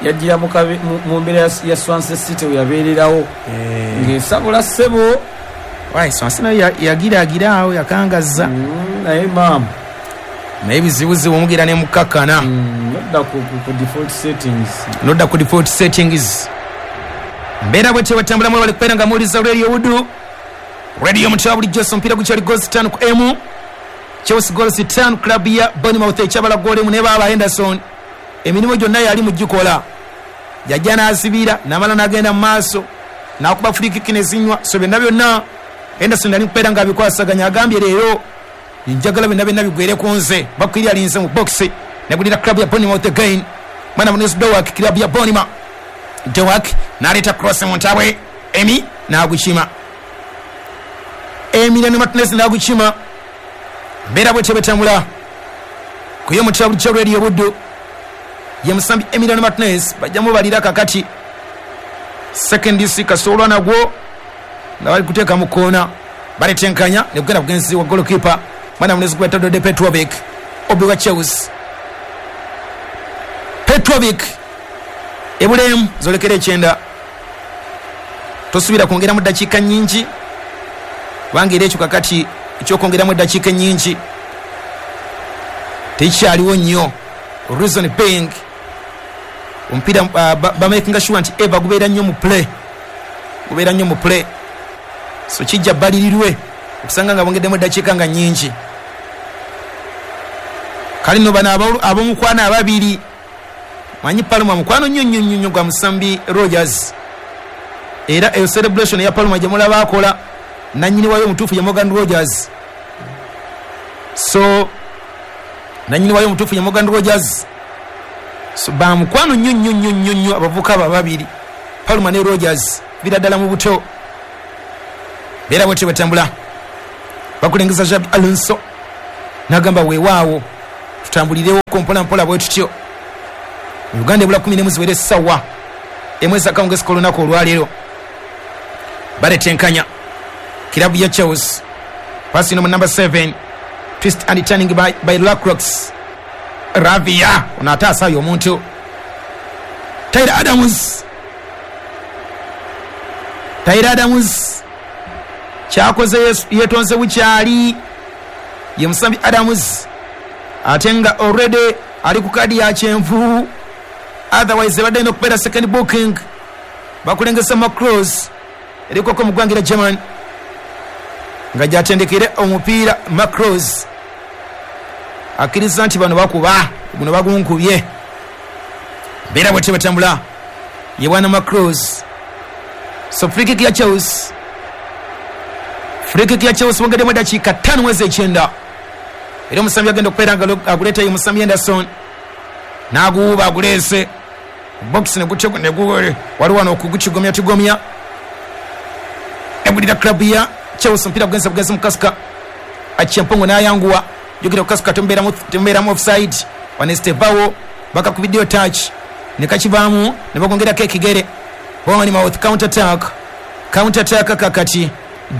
yajjira mu mbeera ya Swansea City we yabeererawo ng'esabula ssebo. Wai Swansea nayo yagiraagira awo yakangazza, naye maama naye bizibuzibu omugira ne mukakkana. Nodda ku default settings, nodda ku default settings. Mbeera bwe tebetambulamu bali kubeera nga muwuliza Radio Wudu, Radio mutya bulijjo. So omupiira gukyali goals ttaano ku emu, Chelsea goals ttaano, club ya Bournemouth ekyabala goal emu ne baaba Henderson emirimu gyonna yali mugikola, yajja n'asibira n'amala n'agenda mu maaso n'akuba free kick ne zinywa. So byonna byonna Henderson yali kubeera ng'abikwasaganya, agambye leero njagala byonna byonna bigwere ku nze. Bakwiri alinze mu box negulira club ya Bournemouth again. Mwana Munisi Dowak, club ya Bournemouth. Dowak n'aleeta cross mu ntabwe, Emi n'agukima, Emiliano Martinez n'agukima. Mbeera bwe tebetambula ku yo mutya bulijjo Radio Buddu ye musambi Emiliano Martinez bajja mubalira kakati second C kasolwa nagwo nga bali kuteeka mu koona, baletenkanya ne kugenda bugenzi wa goalkeeper mwana Munisi gweta Dode Petrovic obi wa Chelsea. Petrovic ebulemu zolekera ekyenda, tosubira kwongeramu ddakiika nnyingi kubanga era ekyo kakati ekyokwongeramu eddakiika ennyingi tekikyaliwo nnyo. Reason being omupiira uh, bamakinga sure nti eva gubeera nnyo mu play, gubeera nnyo mu play. So kijja balirirwe okusanga nga bongeddemu eddakiika nga nnyingi. Kale nno bano ab'omukwano ababiri, manyi Palmer mukwano nnyo nnyo nnyo gwa musambi Rogers, era eyo celebration ya Palmer gye mulaba akola nannyini wayo omutuufu ye Morgan Rogers. So nannyini wayo omutuufu ye Morgan Rogers. So bamukwano nnyo nnyo nnyo nnyo nnyo abavubuka abo ababiri, Palmer ne Rogers, bira ddala mu buto. Beera bwetyo batambula, bakulengeza Xabi Alonso n'agamba weewaawo tutambulirewo mpola mpola bwe tutyo. Uganda ebula kumi n'emu ziwere essaawa emu ez'akawungeezi k'olunaku olwaleero. Baletenkanya kirabu ya Chelsea, pasi no number seven, twist and turning by, by Lacroix. Ravia ono ate asaayo omuntu. Tyler Adams, Tyler Adams kyakoze yetonze bukyali ye musambi Adams, ate nga already ali ku kadi ya kyenvu, otherwise ebadde erina okubeera second booking. Bakulengesa Macross erikoko mu ggwanga lya German nga gyatendekere omupiira. Macross akkiriza nti bano bakuba guno bagunkubye. Beera bwetyo batambula ye bwana Macross. So free kick ya Chelsea, free kick ya Chelsea bongeddemu eddakiika ttaano mwezi ekyenda, era omusambi agenda okubeera nga aguleetayo musambi Anderson n'aguwuba aguleese box ne waliwo wano okugukigomya tugomya egulira club ya Chelsea. Omupiira gugenze bugenzi mu kasika, Achiampongo n'ayanguwa jogera kukasuka, tembeeramu offside. Wano Estevao bakakubiddeyo touch ne kakivaamu ne bagongerako ekigere. Bournemouth counter attack, counter attack kakati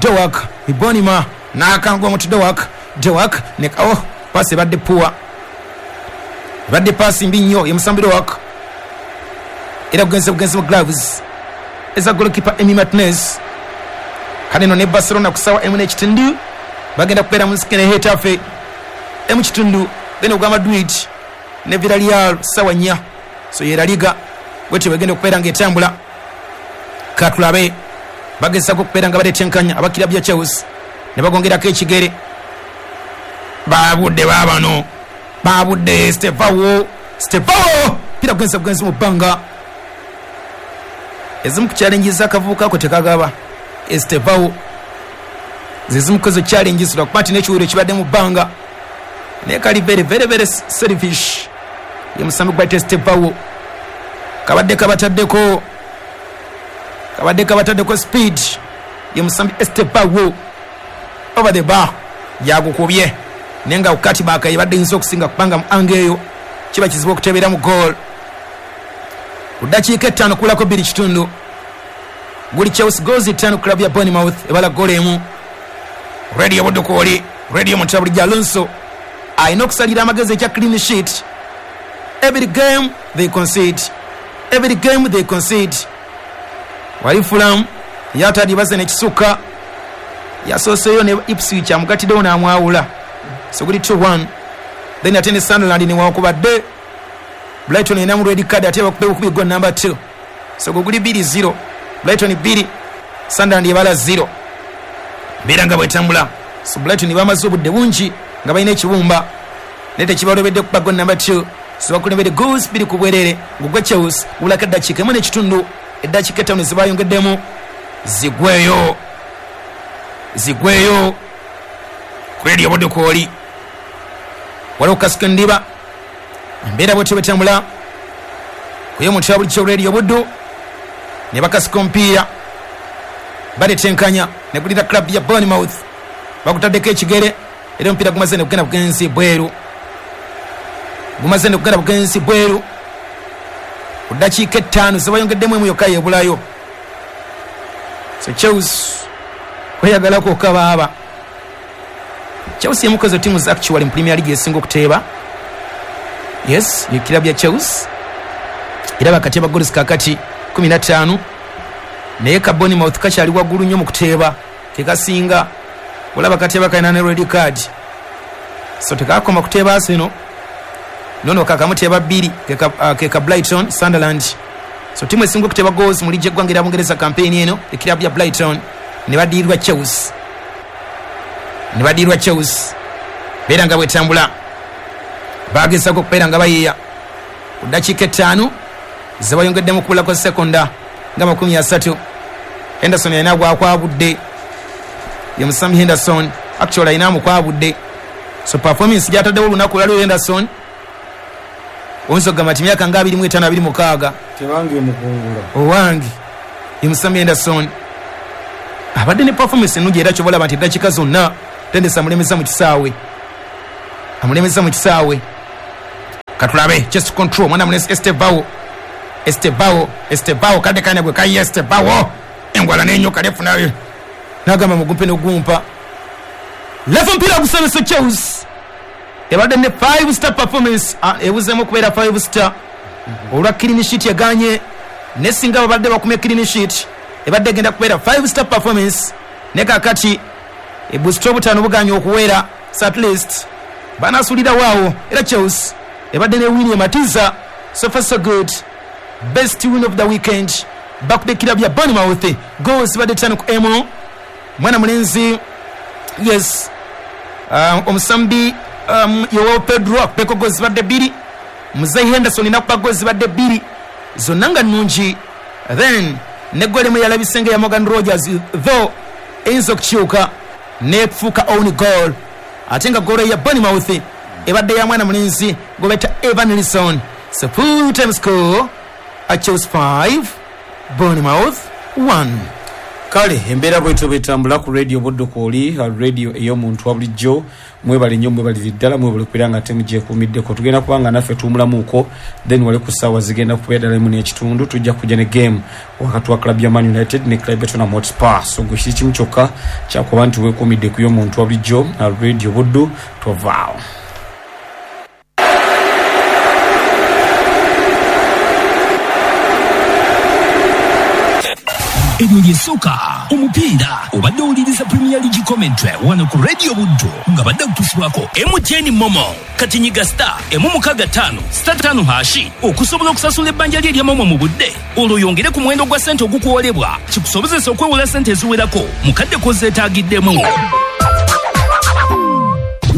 Doak Ibonima n'akangwa omutu Doak, Doak ne oh, paasi ebadde puwa, ebadde paasi mbi nnyo ye musambi Doak, era bugenze bugenzi mu gloves eza goalkeeper Emi Martinez. Kale nno ne Barcelona ku ssaawa emu n'ekitundu bagenda kubeera mu nsikene Getafe emu kitundu, then ogwa Madrid ne Villarreal ssaawa nnya. So ye La Liga bwetyo bagenda okubeera ng'etambula. Katulabe bagezaako okubeera nga baletenkanya abakirabu ya Chelsea ne bagongerako ekigere. Babudde baabano, babudde Estevao, Estevao pira kugenza bugenzi mu bbanga. Ezimu ku challenges akavubuka ako tekagaba Estevao, zezimu ku ezo challenges lwakuba nti n'ekiwero kibadde mu bbanga, naye kali very very very selfish ye musambi gwa Estevao. Kabadde kabataddeko kabadde kabataddeko speed ye musambi Estevao over the bar yagukubye, naye nga kati baka yebadde yinza okusinga kubanga mu ange eyo kiba kizibu okuteebera mu goal. Ku ddakiika ettaano kulako bbiri kitundu guli Chelsea goals ttaano, club ya Bournemouth ebala goal emu. Radio Budukooli, Radio Muntula bulijjo Alonso alina okusalira amagezi ekya clean sheet. Every game they concede, every game they concede. Wali Fulham yatadi baze nekisuka yasooseeyo ne Ipswich amugatiddewo n'amwawula, so guli two one. Then ate ne Sunderland newankubadde Brighton erinamu red card ate bakube bukubi goal number two, so gwe guli bbiri zero, Brighton bbiri Sunderland ebala zero. Mbeera nga bwetambula. So Brighton bamaze obudde bungi nga balina ekibumba naye tekibalobedde kuba goal number two. So bakulembedde goals bbiri ku bwerere ng'ogwa Chelsea gubulako eddakiika emu n'ekitundu, eddakiika ettaano zebayongeddemu zigweyo zigweyo ku Radio Budukooli. Waliwo kasika endiba embeera bwetyo bwetambula kuye omuntu bulijjo Radio Buddu ne bakasika omupiira baletenkanya ne gulira club ya Bournemouth bakutaddeko ekigere, era omupiira gumaze ne kugenda bugenzi bweru, gumaze ne kugenda bugenzi bweru. Ku ddakiika ettaano zebayongeddemu emu yokka yeebulayo. So Chelsea kweyagalako okabaaba. Chelsea emu ku ezo ttiimu actually mu Premier League esinga okuteeba. Yes, ye kirabu ya Chelsea era bakateeba goals kakati kumi na ttaano, naye ka Bournemouth kakyali waggulu nnyo mu kuteeba, kekasinga. Olaba kateeba kalina ne red card, so tekakoma kuteeba Arsenal, nono kakamuteeba bbiri keka, uh, keka Brighton, Sunderland. So ttiimu esinga okuteeba goals mu liigi y'eggwanga erya Bungereza campaign eno ekirabu ya Brighton. Ne badirirwa Chelsea, ne badirirwa Chelsea beera nga bwetambula. Bagezaako okubeera nga bayiiya ku ddakiika ettaano ze bayongeddemu kubulako sekonda nga makumi asatu. Henderson yalina gwakwabudde, ye musambi Henderson actually alina amukwabudde. So performance gyataddewo olunaku lwaliwo Henderson oyinza okugamba nti myaka nga abiri mu etaano abiri mukaaga tebange mukungula owange. Ye musambi Henderson abadde ne performance ennungi, era kyoba olaba nti eddakiika zonna Tendesi amulemesa mu kisaawe, amulemesa mu kisaawe. Katulabe chest control mwana munesi Estevao, Estevao, Estevao kadde kane gwe kayi Estevao engwala n'enyoka lefunayo nagamba mugumpe n'ogumpa lefu mpira gusabisa Chelsea ebadde ne five star performance, ebuzeemu okubeera five star olwa clean sheet yaganye, ne singa babadde bakumye clean sheet ebadde egenda kubeera five star performance. Ne kakati ebusito obutaano buganye okuwera, so at least banasulira waawo. Era Chelsea ebadde ne win ematiza, so far so good, best win of the weekend. Bakudde kirabu ya Bournemouth goals badde ttaano ku emu. Mwana mulenzi yes um, omusambi um, Joao Pedro akubeko goals zibadde bbiri, Muzei Henderson nakuba goals zibadde bbiri zonna nga nnungi. Then ne goal emu yalabise nga ya Morgan Rogers, though eyinza okukyuka nefuuka own goal, ate nga goal ya Bournemouth ebadde ya mwana mulenzi gwe Evan Nilsson. So full time score at Chelsea five Bournemouth one. Kale embeera bwetyo bwetambula ku radio Buddu kwoli radio ey'omuntu wa bulijjo. Mwebale nnyo, mwebalire ddala, mwebale kubeera nga temugyekuumiddeko. Tugenda kuba nga naffe tuwumulamuuko, then wale ku ssaawa zigenda kubeera ddala emu n'ekitundu tujja kujja ne game wakati wa club ya Man United ne club ya Tottenham Hotspur. So gwe kiri kimu kyokka kyakuba nti weekuumidde ku y'omuntu wa bulijjo radio Buddu, tovaawo. Ebyo lyesooka omupiira obadde owuliriza Premier League commentary wano ku Radio Buddu nga badde kutusibwako M T N Momo. Kati nyiga star emu mukaaga ttaano star ttaano hashi okusobola okusasula ebbanja lye erya Momo mu budde, olwo oyongere ku muwendo gwa ssente ogukuwolebwa kikusobozesa okwewola ssente eziwerako mu kadde k'ozeetaagiddemu.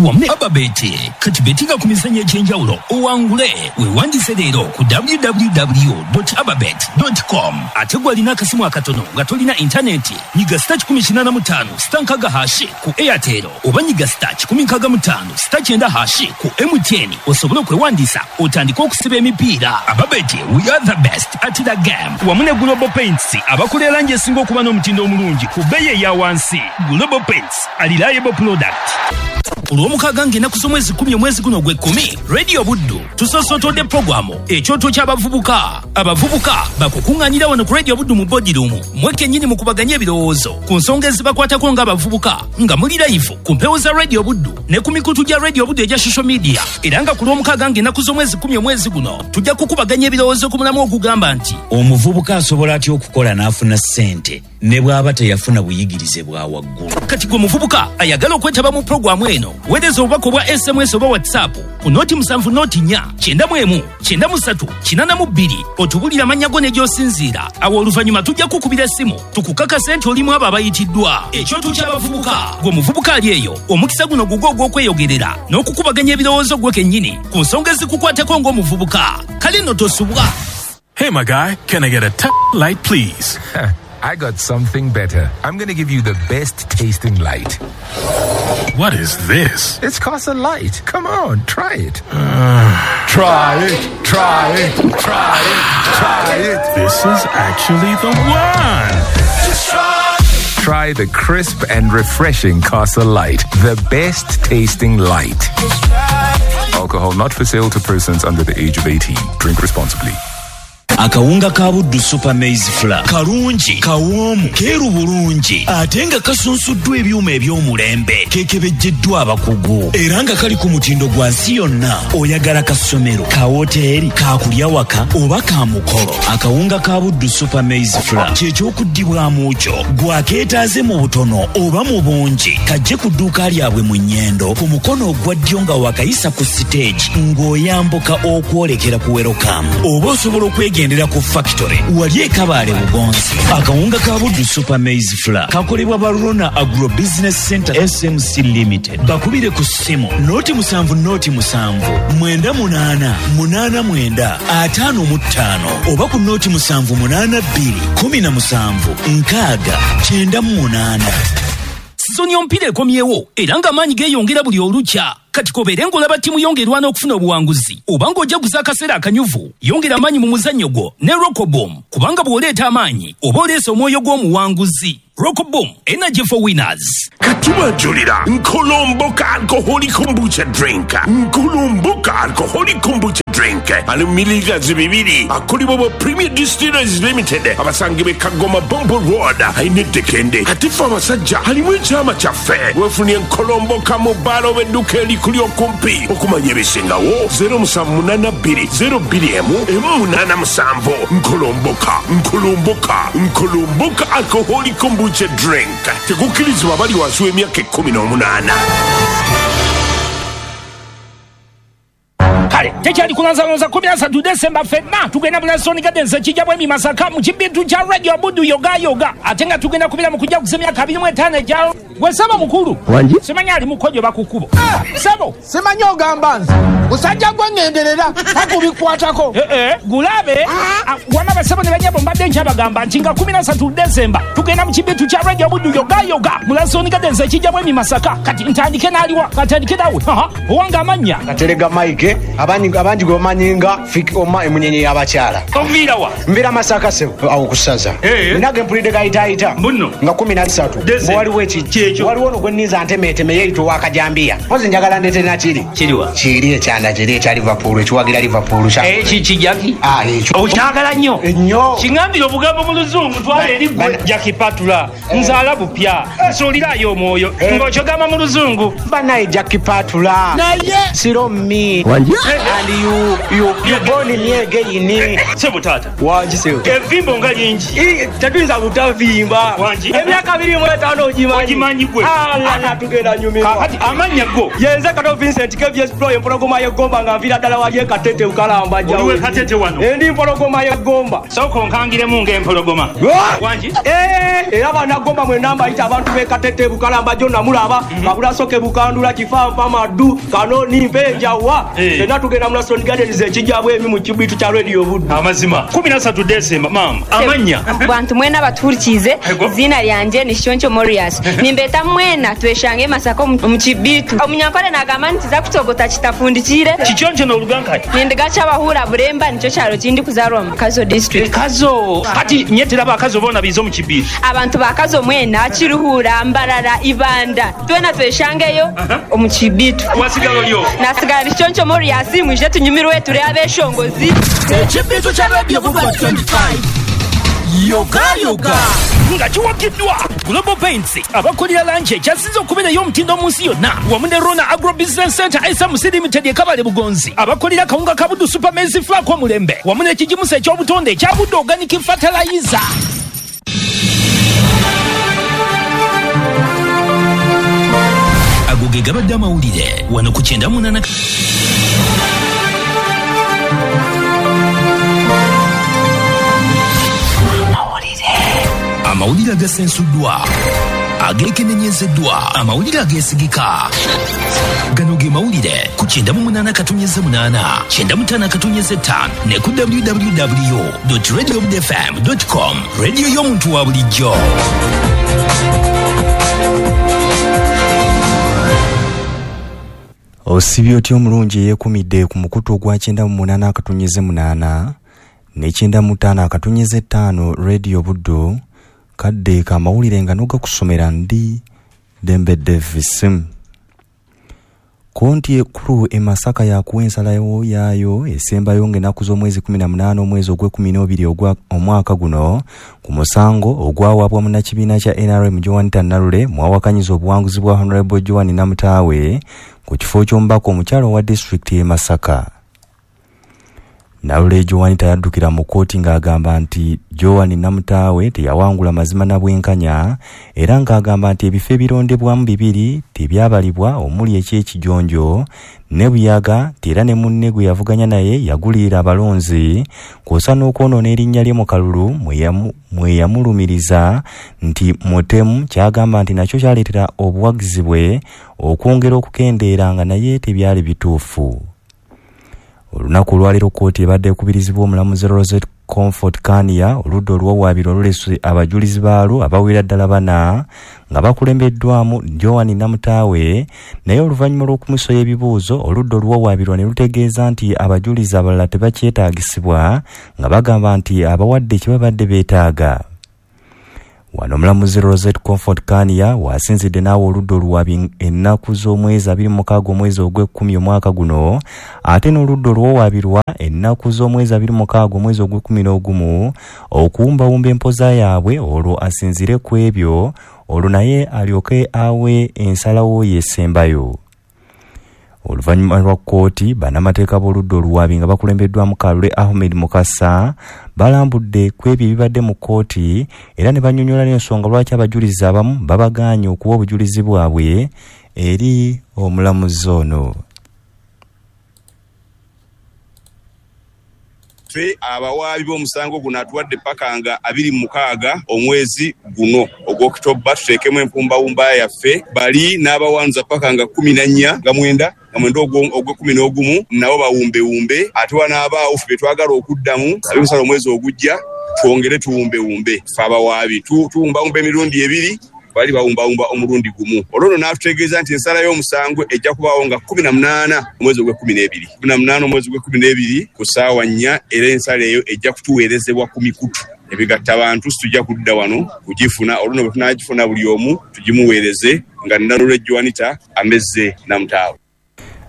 Wamu ne Ababeti kati betinga ku mizannyo egy'enjawulo owangule. Weewandise leero ku w w w dot ababet dot com. Ate gwe alina akasimu akatono nga tolina intaneti, nyiga star kikumi kinaana mu ttaano star nkaaga hashi ku Airtel oba nyiga star kikumi nkaaga mu ttaano star kyenda hashi ku M T N osobole okwewandisa otandike okusiba emipiira. Ababeti, we are the best at the game. Wamu ne Global Paints abakola erangi esinga okuba n'omutindo omulungi ku bbeeyi eya wansi. Global Paints, a reliable product. Olw'omukaaga ng'ennaku z'omwezi kkumi omwezi guno ogw'ekkumi, Radio Buddu tusoosotodde puroguramu ekyoto ky'abavubuka. Abavubuka bakukuŋŋaanira wano ku Radio Buddu mu boardroom mwe kennyini mukubaganye ebirowoozo ku nsonga ezibakwatako ng'abavubuka nga muli live ku mpewo za Radio Buddu ne ku mikutu gya Radio Buddu egya social media. Era nga ku lw'omukaaga ng'ennaku z'omwezi kkumi omwezi guno tujja kukubaganya ebirowoozo ku mulamu ogugamba nti omuvubuka asobola atya okukola n'afuna ssente ne bw'aba teyafuna buyigirize bwa waggulu. Kati gwe muvubuka ayagala okwetaba mu puroguramu eno, weereza obubaka obwa S M S oba WhatsApp ku noti musanvu noti nnya kyenda mu emu kyenda mu ssatu kinaana mu bbiri otubulire amannya go ne gy'osinziira. Awo oluvannyuma tujja kukubira essimu tukukakase nti olimu abo abayitiddwa. Ekyoto ky'abavubuka. Gwe muvubuka ali eyo, omukisa guno gugwo ogw'okweyogerera n'okukubaganya ebirowoozo gwe kennyini ku nsonga ezikukwatako ng'omuvubuka. Kale nno tosubwa. Hey my guy, can I get a t- light please? I got something better. I'm going to give you the best tasting light. What is this? It's Casa Light. Come on, try it. Uh, try it, try it, try it, try it. This is actually the one. Just try it. Try the crisp and refreshing Casa Light, the best tasting light. Alcohol not for sale to persons under the age of eighteen. Drink responsibly. Akawunga ka Buddu Super Maize Flour kalungi, kawoomu, keeru bulungi ate nga kasunsuddwa ebyuma eby'omulembe, kekebejjeddwa abakugu era nga kali ku mutindo gwa nsi yonna. Oyagala kasomero, ka woteeri, kakulya waka oba ka mukolo, akawunga ka Buddu Super Maize Flour kyekyokuddibwamu kyo. Gwakeetaaze mu butono oba mu bungi, kajje ku dduuka lyabwe mu Nnyendo ku mukono ogwa ddyo nga wakayisa ku siteegi ng'oyambuka okwolekera ku Welcome, oba osobola okwege Tugendera ku factory wali e Kabale Bugonzi. Akawunga ka Buddu Super Maize Flour kakolebwa Barona Agro Business Center S M C Limited. Bakubire ku ssimu noti musanvu noti musanvu mwenda munaana munaana mwenda ataano mu ttaano oba ku noti musanvu munaana bbiri kumi na musanvu nkaaga kyenda mu munaana. Sizoni y'omupiira ekomyewo era ng'amaanyi geeyongera buli olukya. Kati kobeere ng'olaba ttiimu yongerwa n'okufuna obuwanguzi oba ng'ojaguza akaseera akanyuvu, yongera amaanyi mu muzannyo gwo ne Rockboom, kubanga bw'oleeta amaanyi oba oleese omwoyo gw'omuwanguzi. Rockboom, energy for winners. Katubajulira Nkolomboka alcoholic kombucha drink. Nkolomboka alcoholic kombucha drink. Ali mililita bibiri akolebwa ba Premier Distillers Limited. Abasange be Kagoma Bombo Road. Aine dekende. Atifa abasajja halimu ekyama kyaffe. Wefunye Nkolomboka mu bbaala oba edduuka erikuli okumpi. Okumanya ebisingawo zero musanvu munaana bbiri zero bbiri emu emu munaana musanvu. Nkolomboka, Nkolomboka, Nkolomboka alcoholic kombucha drink. Tekukkirizibwa abali wansi w'emyaka ekkumi n'omunaana. Kale tekyali kulanzalonza kumi na ssatu Desemba ffenna tugenda mu Lansoni Gardens ekijja bwemi Masaka mu kibintu kya Radio Buddu yoga yoga, ate nga tugenda kubira mu kujaguza emyaka abiri mu etaano egya gwe ssebo mukulu. Wangi? Simanyi ali mukojo bakukubo. Ssebo simanyi ogamba nze musajja gwe ŋŋenderera takubikwatako. Eh eh gulabe wama basebo ne banyabo mbadde nkyabagamba nti nga kumi na ssatu Desemba tugenda mu kibintu kya Radio Buddu yoga yoga mu Lansoni Gardens ekijja bwemi Masaka. Kati ntandike n'aliwa katandike nawe owanga amannya Katerega Mike abangi abangi gomanyi nga fik oma emunyenye y'abakyala. Omvira wa? Mvira Masaka sebo awo kusaza. Nage mpulidde gayitaayita nga kumi na ssatu waliwo ekijja waliwo ono gwe nninza ntemeeteme yeeyita owakajambiya. Mpozi njagala ndeete nakiri. Kiriwa? Kiri ekyanda kiri ekya Liverpool ekiwagira Liverpool. Eki kijaki? Ah ekyo. Okyagala nnyo? Nnyo. Kiŋŋambire obugambo mu luzungu twala eri gwe Jackie Patula. Nzaala bupya. Nsuulirayo omwoyo. Ng'okyogamba mu luzungu. Banaye Jackie Patula. Naye. Siromi. Wangi? And you you you born me again. Sebo tata. Wangi sebo. Evimbo nga lingi. Tetuyinza butavimba. Wangi? Emyaka abiri mu etaano ogimanyi. Ogimanyi gwe. Ala tugenda nyumirwa. Kakati amannya go. Yenze Kato Vincent K V S Pro empologoma y'eggomba nga nviira ddala wali e Katete Ukalamba jjawo. Oliwe Katete wano. Endi mpologoma y'eggomba. Sooka onkangiremu ng'empologoma. Wangi? Eh, era bannagomba mwenna mbayita abantu b'e Katete Bukalamba jjo namulaba. Kabulasoke Bukandula Kifanfa Maddu Kanoni Mpenjawa. Fenna tugenda mu Lansoni Gardens ekijja bwemi mu kibitu kya Radio Buddu. Amazima. kumi na ssatu Desemba mama. Amannya. Bantu mwena batuhurikize izina lyanje ni Shoncho Morias. Nimbeta mwena tweshange Masaka mu kibitu. Omunyankole nagamba nti za kutogota kitafundikire. Kichoncho n'olugankati. Nindiga kyabahura Buremba nicyo kyalo kindi kuzarwa mu Kazo district. Kazo. Kati nyetera bakazo bona bizo mu kibitu. Abantu bakazo mwena Kiruhura Mbarara Ibanda. Twena tweshangeyo omu kibitu. Wasigalo lyo. Nasigala Shoncho Morias mwije tunyumirwe turi abeshongozi. Ekibitu kya Radio Buddu twenty-five. Yoga yoga. Nga kiwagiddwa Global Paints abakolera langi ekyasinze okubeerayo omutindo mu nsi yonna wamu ne Rona Agro Business Center S M C Limited e Kabale Bugonzi abakolera kawunga ka Buddu Super Maize Flour k'omulembe wamu n'ekigimusa eky'obutonde ekya Buddu Organic Fertilizer. Ago ge gabadde amawulire wano ku kyenda munaana. Amawulire agasensuddwa ageekenenyezeddwa amawulire ageesigika gano ge mawulire ku kyenda mu munaana katonnyeze munaana kyenda mu ttaano katonnyeze ttaano ne ku w w w dot radio buddu f m dot com. Radio y'omuntu wa bulijjo. Osibye otya omulungi eyeekumidde ku mukutu ogwa kyenda mu munaana akatonnyeze munaana ne kyenda mu ttaano akatonnyeze ttaano Radio Buddu kadde kamawulire nga nogakusomera ndi Dembe Davis. Kooti ekkulu e Masaka yakuwa ensalawo yaayo esembayo ng'ennaku z'omwezi kumi na munaana omwezi ogw'ekkumi n'obiri ogwa omwaka guno ku musango ogwawaabwa munnakibiina kya N R M Joan Nalule mwawakanyiza obuwanguzi bwa Honorable Joan Namutaawe ku kifo ky'omubaka omukyala owa disitulikiti y'e Masaka. Nalule Joanita yaddukira mu kkooti ng'agamba nti Joan Namutaawe teyawangula mazima na bwenkanya, era ng'agamba nti ebifo ebirondebwamu bibiri tebyabalibwa omuli eky'ekijonjo ne Buyaga, era ne munne gwe yavuganya naye yagulirira abalonzi kw'ossa n'okwonoona erinnya lye mu kalulu mwe yamulumiriza nti mutemu, ky'agamba nti nakyo kyaleetera obuwagizi bwe okwongera okukendeera nga naye tebyali bituufu. Olunaku olwaleero kkooti ebadde ekubirizibwa omulamuzi Rosette Comfort Kania oludda oluwawaabirwa olulese abajulizi baalwo abawera ddala bana nga bakulembeddwamu Joan Namutaawe, naye oluvannyuma lw'okumusoya ebibuuzo oludda oluwawaabirwa ne lutegeeza nti abajulizi abalala tebakyetaagisibwa nga bagamba nti abawadde kye babadde beetaaga. Wano omulamuzi Rosette Comfort Kania wasinzidde n'awa oludda oluwaabi ennaku z'omwezi abiri mu mukaaga omwezi ogw'ekkumi omwaka guno, ate n'oludda oluwawaabirwa ennaku z'omwezi abiri mu mukaaga omwezi ogw'ekkumi n'ogumu okuwumbawumba empoza yaabwe, olwo asinziire ku ebyo olwo naye alyoke awe ensalawo y'esembayo. Oluvannyuma lwa kkooti, bannamateeka b'oludda oluwaabi nga bakulembeddwamu Kalule Ahmed Mukasa balambudde ku ebyo ebibadde mu kkooti era ne bannyonnyola n'ensonga lwaki abajulizi abamu babagaanye okuwa obujulizi bwabwe eri omulamuzi ono. Ffe abawaabi b'omusango guno atuwadde paka nga abiri mu mukaaga omwezi guno ogw'Okitoba tuteekemu empumbawumba yaffe, bali n'abawanza paka nga kkumi na nnya nga mwenda nga mwenda ogw'ekkumi n'ogumu nabo bawumbewumbe, ate wanaabaawo ffe be twagala okuddamu abemusala omwezi ogujja twongere tuwumbewumbe. Ffe abawaabi tuwumbawumba emirundi ebiri, bali bawumbawumba omulundi gumu. Olwo nno n'atutegeeza nti ensala y'omusango ejja kubaawo nga kkumi na munaana omwezi ogw'ekkumi n'ebiri kkumi na munaana omwezi ogw'ekkumi n'ebiri ku ssaawa nnya, era ensala eyo ejja kutuweerezebwa ku mikutu ebigatta bantu, situjja kudda wano kugifuna. Olwo nno bwe tunaagifuna buli omu tugimuweereze nga Nalule Joanita amezze Namutaawe.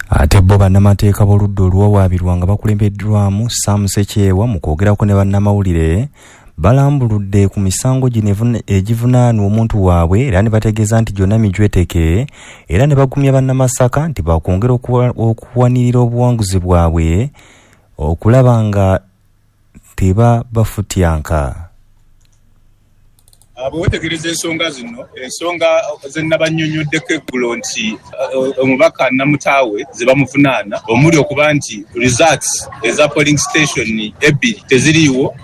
Ate bo bannamateeka b'oludda oluwawaabirwa nga bakulembeddwamu Sam Sekyewa mu kwogerako ne bannamawulire balambuludde ku misango gino egivunaanwa omuntu waabwe era ne bategeeza nti gyonna mijweteke, era ne bagumya bannamasaka nti bakwongera okuwanirira obuwanguzi bwabwe okulaba nga teba bafutyanka. Bwe weetegereza ensonga zino, ensonga ze nnabannyonnyoddeko eggulo nti omubaka Namutaawe ze bamuvunaana omuli okuba nti results eza polling station ebbiri teziriiwo,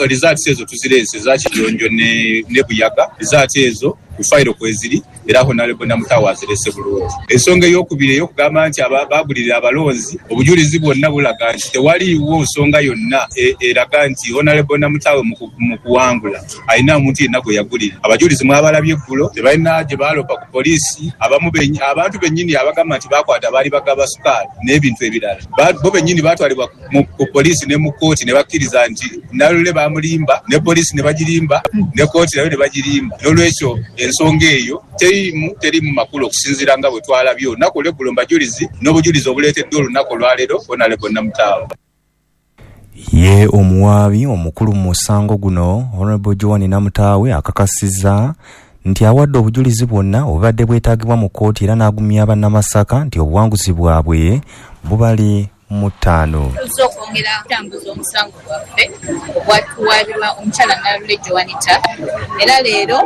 results ezo tuzireese eza Kijonjo ne Buyaga, results ezo ku fayiro kweziri era Honorable Namutaawe azirese bulungi. Ensonga ey'okubiri ey'okugamba nti bagulirira abalonzi, obujulizi bwonna bulaga nti tewaliiwo nsonga yonna eraga nti Honorable Namutaawe mu kuwangula alina omuntu yenna gwe yagulira. Abajulizi mwabalabye eggulo tebalina gye baalopa ku poliisi, abamu abantu bennyini abagamba nti bakwata baali bagaba sukaali n'ebintu ebirala, bo bennyini baatwalibwa ku poliisi ne mu kkooti ne bakkiriza nti Nalule baamulimba ne poliisi ne bagirimba ne kkooti nayo ne bagirimba. N'olwekyo ensonga eyo teriimu teriimu makulu okusinziira nga bwe twalabye olunaku olw'eggulo mu bajulizi n'obujulizi obuleeteddwa olunaku olwaleero Honorable Namutaawe. Ye omuwaabi omukulu mu musango guno Honorable Joan Namutaawe akakasizza nti awadde obujulizi bwonna obubadde bwetaagibwa mu kkooti era n'agumya bannamasaka nti obuwanguzi bwabwe bubali mu ttaano. Tuzze okwongera okutambuza omusango gwaffe ogwatuwaabirwa omukyala Nalule Joanita, era leero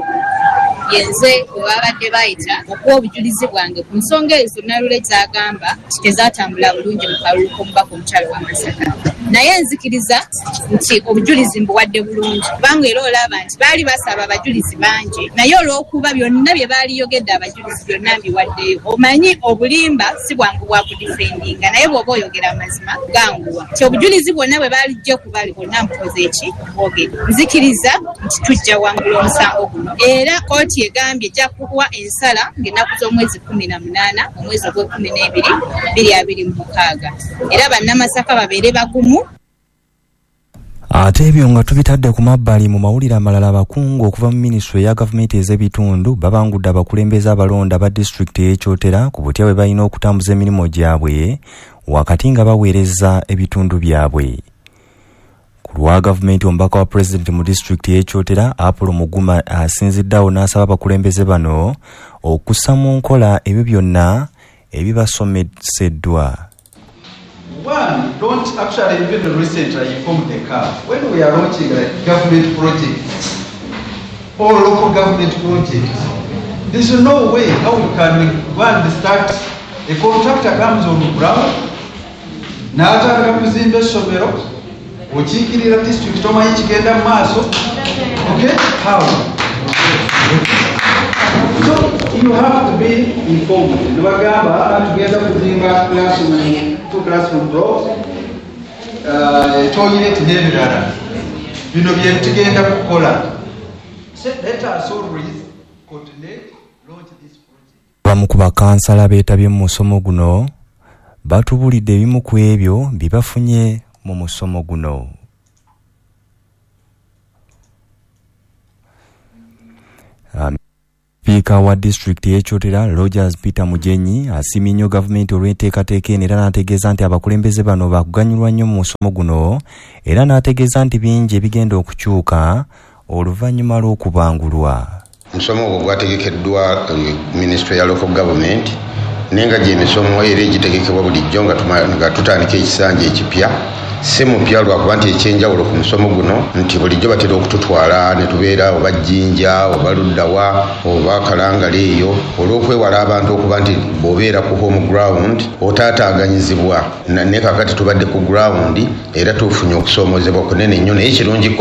yenze bwe babadde bayita okuwa obujulizi bwange ku nsonga ezo Nalule z'agamba nti tezaatambula bulungi mu kalulu k'omubaka omukyala wa Masaka. Naye nzikiriza nti obujulizi mbuwadde bulungi, kubanga era olaba nti baali basaba abajulizi bangi, naye olw'okuba byonna bye baaliyogedde abajulizi byonna mbiwaddeyo. Omanyi obulimba si bwangu bwa kudifendinga, naye bw'oba oyogera amazima ganguwa. Nti obujulizi bwonna bwe baalijja kubali bwonna mbukoze eki bwogedde. Nzikiriza nti tujja wangula omusango guno, era kkooti egambye ejja kuwa ensala ng'ennaku z'omwezi kkumi na munaana omwezi ogw'ekkumi n'ebiri bbiri abiri mu mukaaga, era bannamasaka babeere bagumu. Ate ebyo nga tubitadde ku mabbali, mu mawulire amalala abakungu okuva mu minisitule eya gavumenti ez'ebitundu babangudde abakulembeze abalonda ba disitulikiti ey'e Kyotera ku butya bwe balina okutambuza emirimu gyabwe wakati nga baweereza ebitundu byabwe. Ku lwa gavumenti, omubaka wa pulezidenti mu disitulikiti ey'e Kyotera Apollo Muguma asinziddeawo n'asaba abakulembeze bano okussa mu nkola ebyo byonna ebibasomeseddwa. One, don't actually, even recently I informed the C A F, when we are launching like government projects or local government projects, there's no way how we can go and start. A contractor comes on the ground, n'atandika kuzimba essomero, okiikirira district tomanyi kigenda mu maaso. Okay, how? So you have to be informed. Nibagamba tugenda kuzimba classroom, two classroom blocks, uh, toilet n'ebirala. Bino bye tugenda kukola. So let us always coordinate, launch this project. Abamu ku bakansala beetabye mu musomo guno batubulidde ebimu ku ebyo bye bafunye mu musomo guno. Um, Sipiika wa disitulikiti y'e Kyotera Rogers Peter Mugenyi asiimye nnyo gavumenti olw'enteekateeka eno era n'ategeeza nti abakulembeze bano baakuganyulwa nnyo mu musomo guno era n'ategeeza nti bingi ebigenda okukyuka oluvannyuma lw'okubangulwa. Omusomo ogwo gwategekeddwa minisitule ya local government naye nga gy'emisomo era egitegekebwa bulijjo nga tutandika ekisanja ekipya. Si mupya lwakuba nti ekyenjawulo ku musomo guno nti bulijjo batera okututwala ne tubeera oba Jjinja oba Luddawa oba Kalangala eyo olw'okwewala abantu okuba nti bw'obeera ku home ground otaataaganyizibwa. Naye kaakati tubadde ku ground era tufunye okusoomoozebwa kunene nnyo, naye kirungiko